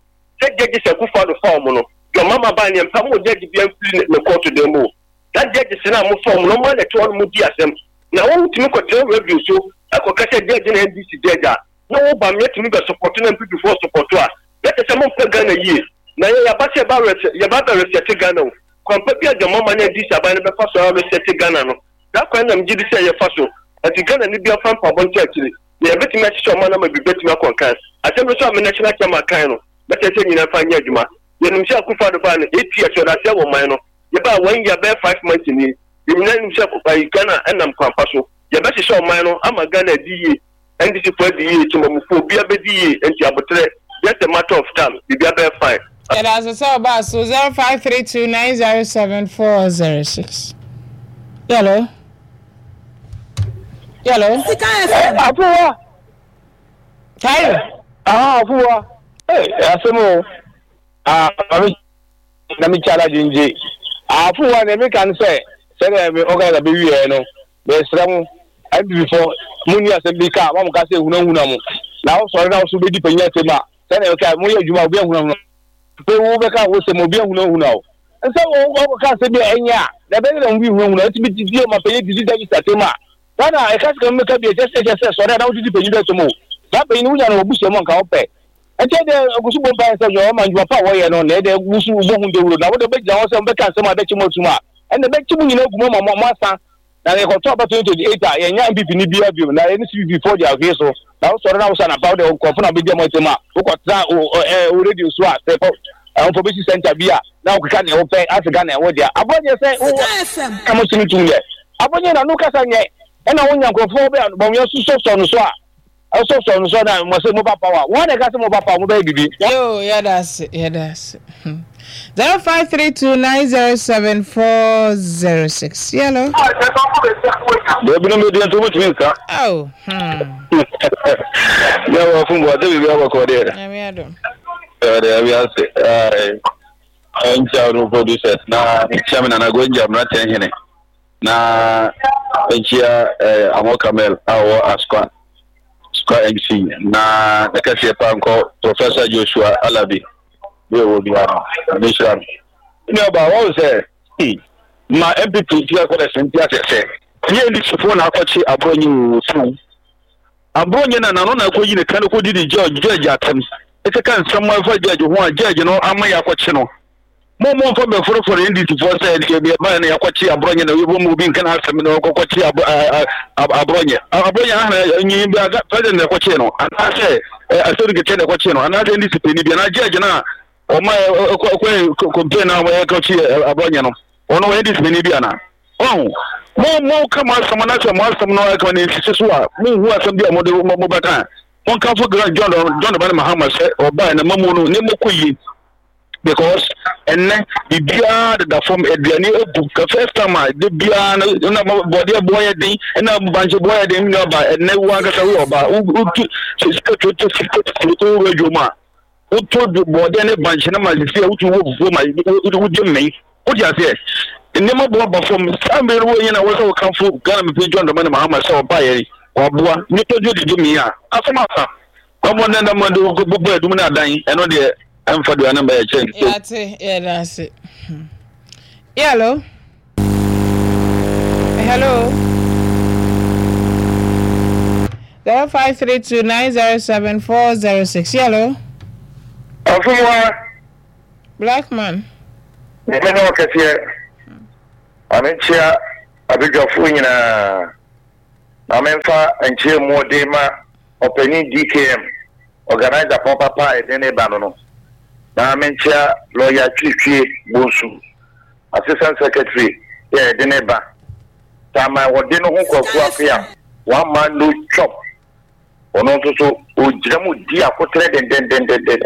Sɛ judges Akufo Addo fa wɔn no, deɛ ɔmama baa neɛ mpa mo judge bia mfiri ne kɔɔto dan mu o. Saa judges no a mofa wɔn no, ɔmo ana ɛte hɔ no mo di asɛm. Na wɔn tumi kɔtena radio so ɛkɔka sɛ judge na N D C judge a na wo Bawumia tumi bɛ support na N P P foɔ support a, na kyerɛ sɛ mompɛ Ghana yie. Na yɛ yaba sɛ yɛba rɛ yɛba bɛ reset Ghana o. Kwampa bi a dwamama ne N D C aban no bɛfa so a reset Ghana no. Saa kwan na megye di sɛ yɛfa so. Nti Ghana ni bi afa mpaabɔ nkyɛn akyire. Na yɛbɛtumi ahyehyɛ ɔman ama bi bɛtumi akɔ nkan. Asɛm no so a me national chairman kan no, bɛkyɛ sɛ nyinaa fa nyɛ adwuma. Yɛnim sɛ Akufo Addo baa no eight years ɔde aseɛ wɔ man no. Yɛbaa one year bɛyɛ five months nie. Yɛn nyinaa nim sɛ ayi Ghana ɛnam kwampa so. Yɛbɛhyehyɛ ɔman no ama Ghana adi yie. N D C fo adi yie, temamufoɔ obiara bɛdi yie. Nti abotrɛ, just a matter of time, biribiara bɛyɛ fine. Yɛda ase sɛ ɔba so. Zero five three two nine zero seven four zero six. Hello, hello. Sika F M. Afowa. Tayo. Ah, afowa. Ee, asɛm o. Ah, maame na mi kyala gyengye. Afowa, na mi ka no sɛ sɛdeɛ mi organizer bɛ wiɛ no, mɛsrɛ mo N P P fo, mo ni asɛm bi ka mo ka sɛ ehunahuna mo na wosɔre na woso bɛdi panyin asɛm a, sɛdeɛ ɔka mo yɛ adwuma, obi ahunahuna pe wo bɛka wo sɛm, obi ahunahuna o nsɛ wo wɔkɔka asɛm bi a ɛnyɛ a na ɛbɛyɛ na obi hunahuna. Ɛti bi titi ma panyin didi dabi asɛm a Ghana ɛka sika mu ka bi ɛkyɛ sɛ ɛkyɛ sɛ sɔre a na wodidi panyin bi asɛm o. Saa panyin no wonya no wɔ busua mu anka wopɛ ɛkyɛ dɛ ogusu bɔ mpa sɛ dwuma ɔma ndwuma pa a wɔyɛ no na ɛdɛ wusu bɔ ho dawuro na wode bɛgyina hɔ sɛ wobɛka asɛm a bɛkye mu atum a, ɛnna bɛkye mu nyinaa gu mu ama mo asa na yɛkɔtɔ aba twenty twenty-eight a, yɛnya N P P ni bia bio na yɛne C P P foɔ de ahwee so. Na wosɔre na wosɔ anapa, wode nkurɔfo na wobɛdi ɔmo atɛm a, wokɔtena wo radio so a sɛ information center bi a na wokeka nea wopɛ ase Ghana ɛwɔ deɛ Abronye sɛ Sika F M. Ka mo sene tum deɛ Abronye na no kasa nyɛ ɛna wonya nkurɔfoɔ bɛ Bawumia sosɔsɔ no so a ɛsɔsɔ no so na mo sɛ mo ba power, wɔn na ɛka sɛ mo ba power, mo bɛyɛ bibi. Yo, yɛda ase, yɛda ase. Zero five three two nine zero seven four zero six. Hello. Deɛ binom bɛdi nso wobɛtumi nka. Oh. Hmm. Yɛ wɔ fom bɔ sɛ biribi abɔkɔ deɛ. Nyame adom. Ɛde abi ase nkyia no producers na nkyia me Nana Gonja mmeranteɛ hene na nkyia Amɔ Kamel a ɔwɔ Asokwa Asokwa M C na ne kɛseɛ pa nkɔ Professor Joshua Alabi bi a ɔwɔ biara no mehyira no. Nua ba wɔn sɛ hmm, ma N P P nti akɔ dɛ sɛ nti asɛ sɛ ɛnyɛ N D C foɔ na akɔkye Abronye wɔ so. Abronye na nano na akɔyi ne ka no kɔdi ne judge judge atɛm ɛkeka nsɛm a ɛfa judge ho a judge no ama yɛ akɔkye no. Mo mo mfa bɛforoforo N D C foɔ sɛ deɛ deɛ ɛbaeɛ no yɛakɔkye Abronye na yɛbɔ mu obi nka n'asɛm na ɔkɔkɔkye Abronye. Abronye ahana nyi bi aga president na ɛkɔkye no anaasɛ asɛm kɛkɛ na ɛkɔkye no anaasɛ N D C panyin bi anaa judge no a ɔma ɛkɔ complain na wɔyɛ kɔkye Abronye no, ɔno ɔyɛ N D C panyin bi anaa? Ɔho Mo mo ka mo asɛm na sɛ mo asɛm no ɛka ne nsisi so a, monhu asɛm bi a mode mobɛka. Monkamfo John John Dramani Mahama sɛ ɔbae na mamu no nneɛma kɔ yie, because ɛnɛ biribiara deda fam, aduane abu ka. First time a de biara no na bɔdeɛ boɔ yɛ den, ɛna bankye boɔ yɛ den. Nua ba, ɛnɛ wo ankasa woyɛ ɔba, wotu sika twenty fifty wowura adwom a wotɔ bɔdeɛ ne bankye no ma sisi a wotu wɔ fufuo ma wogye mmɛn. Wote aseɛ, nneɛma boɔ aba fam. Saa mmere no wɔnyɛ na wɔ sɛ wɔkamfo Ghana mepɛ John Dramani Mahama sɛ ɔbaeɛ waboa nnipa dwo didi mi a asɛm asa ɔmɔ ne nam de bobɔ adum no adan. Ɛno deɛ ɛmfa duane mba yɛ kyɛn. Yɛate, yɛda ase. Hello, hello. Zero five three two nine zero seven four zero six. Hello. Ɔfumua. Black man. Nyame ne ɔkɛseɛ. Maame, nkyia abadwafoɔ nyinaa na memfa nkyia mu ɔde ma ɔpanin D K M, organizer pɔpapa a yɛde ne ba no no na menkyia lawyer Twitwie Bonsu, assistant secretary yɛ yɛde ne ba tama wɔde ne ho Kwaku Apea, one man no chop. Ɔno nso so ogyina mu di akotere dendendendenden.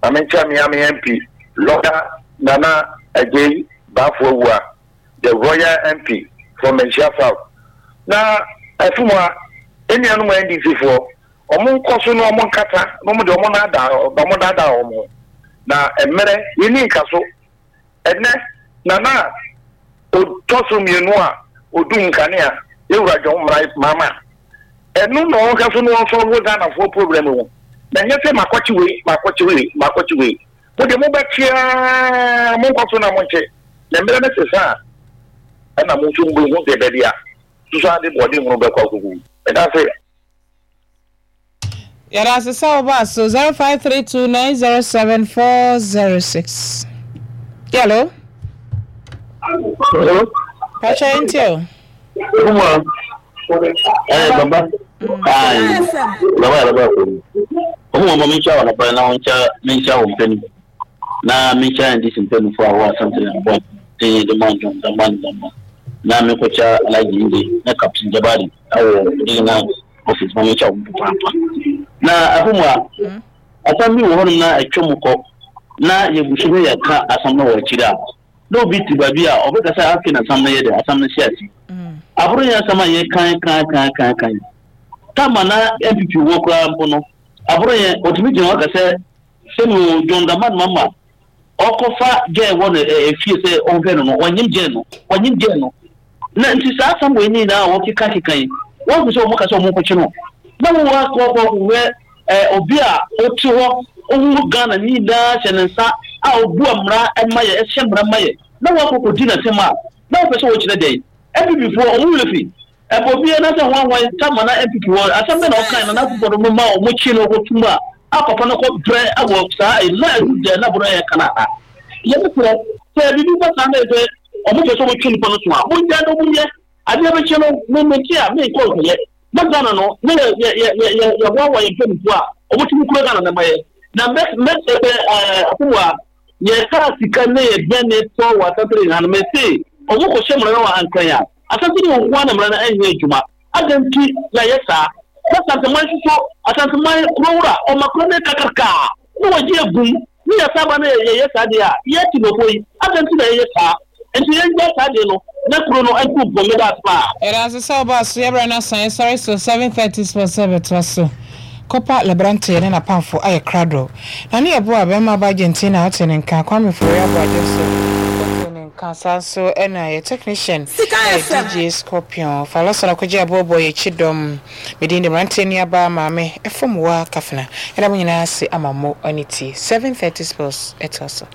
Na menkyia Miami M P, lawyer Nana Agyei Baafo Awua, the royal M P from Manhyia South. Na ɛfum a enuanom N D C foɔ, ɔmo nkɔ so na ɔmo nkasa na ɔmo de ɔmo naadaa, ɔmo daadaa ɔmo na mmerɛ yɛni nka so. Ɛnɛ Nana ɔtɔ so mmienu a odum nkanea, yɛwura John Mahama, ɛno na ɔnka so na ɔnsolve Ghanafoɔ problem ho, na nyɛ sɛ makɔkye wei, makɔkye wei, makɔkye wei. Mo de mobɛkyeaa, monkɔ so na monkye na mmerɛ no sesa a, ɛna mo nso mbɛhu deɛ baabi a soso ade bɔɔde hunu bɛkɔ akɔgu. Ɛda se. Yɛda ase sɛ woba so. Zero five three two nine zero seven four zero six. Hello. Hello. Pacha nti o. Kuma. Eh, baba. Ai. Baba, baba. Omo mo mi nkyia wɔ nɔpɛ na wɔnkyia mi nkyia wɔ mpɛni. Na mi nkyia N D C mpɛnifo a wɔwɔ Asante na bɔ te de man dɔm dama dama. Na mi kɔkyia Alhaji Inde na Captain Jabari ɛwɔ regional office ma mi nkyia wɔn papaapa. Na ɛfɔ mu a asɛm bi wɔ hɔnom na atwa mu kɔ na yɛgu so ne yɛka asɛm no wɔ akyiri a, na obi te baabi a ɔbɛka sɛ afei na asɛm no yɛ dɛ, asɛm no hyɛ ase. Aboro yɛ asɛm a yɛkan kan kan kan kan tama na N P P wɔ koraa mpo no, aboro yɛ ɔtumi gyina hɔ ka sɛ sɛnea John Dramani Mahama ɔkɔfa gɛɛ wɔ no efie sɛ ɔhwɛ no no ɔnyim gɛɛ no, ɔnyim gɛɛ no. Na nti saa asɛm wɔ yi nyinaa a wɔkeka keka yi, wɔn fi sɛ wɔn ka sɛ wɔn nkɔkye no na wɔn akɔ akɔ akɔhwɛ ɛɛ obi a ɔte hɔ ɔhu Ghana ne nyinaa hyɛ ne nsa a ɔbu mmara ɛma yɛ, ɛhyɛ mmara ma yɛ, na wɔn akɔ kɔdi n'asɛm a na wɔpɛ sɛ wɔkyerɛ dɛn? N P P foɔ, ɔmo werɛ fi ɛbɔ obiara na sɛ wɔn ahwan tama na N P P wɔ asɛm bɛ na ɔkan na n'akokɔ no ma ɔmo kyi no ɔkɔ a a papa no kɔ brɛ ɛwɔ saa ɛyi na ɛdu deɛ na bɔrɔ yɛ kana ha. Yɛn srɛ sɛ bibi ba saa na yɛ sɛ ɔmo pɛ sɛ ɔmo twe nipa no so a, mo nya no, mo yɛ adeɛ bɛkyɛ no. Mo mo ti a mi nkɔ nkɔyɛ na Ghana no ne yɛ yɛ yɛ yɛ yɛ yɛboaboa yɛn mpanyinfoɔ a ɔmo tumi kura Ghana na ma yɛ na mɛ mɛ sɛ ɛɛ akomo a yɛka sika ne yɛ bɛn ne tɔ wɔ Asante ha no, mɛ se ɔmo kɔ hyɛ mmara no wɔ Ankran a Asante ne nko ara na mmara no ɛnyɛ adwuma. Adan nti na yɛ saa na Asanteman soso, Asanteman kurowura ɔma kuro ne kakraka na wɔgye egum ne yɛ sábà no yɛyɛ saa deɛ a yɛ ti nɔfo yi. Adan nti na yɛyɛ saa nti yɛn gya saa deɛ no na kuro no ntu mpɔ. Meda ase paa. Yɛda ase sɛ woba so. Yɛbrɛ no asan yɛsɔre so seven thirty sports ɛbɛtoa so. Copa Lebrante ne n'apamfo ayɛ krado na ne yɛboa bɛrima ba Argentina. Wote ne nka Kwame Fori Aboagye so, wote ne nka saa nso. Ɛna yɛ technician ɛyɛ D J Scorpion Falɔsɔ na kɔgye aboɔboɔ yɛkyi dɔm. Medin de mmeranteɛ nuabaa maame ɛfam wɔ kafena. Ɛda mo nyinaa ase ama mo ane tie. seven thirty sports ɛtoa so.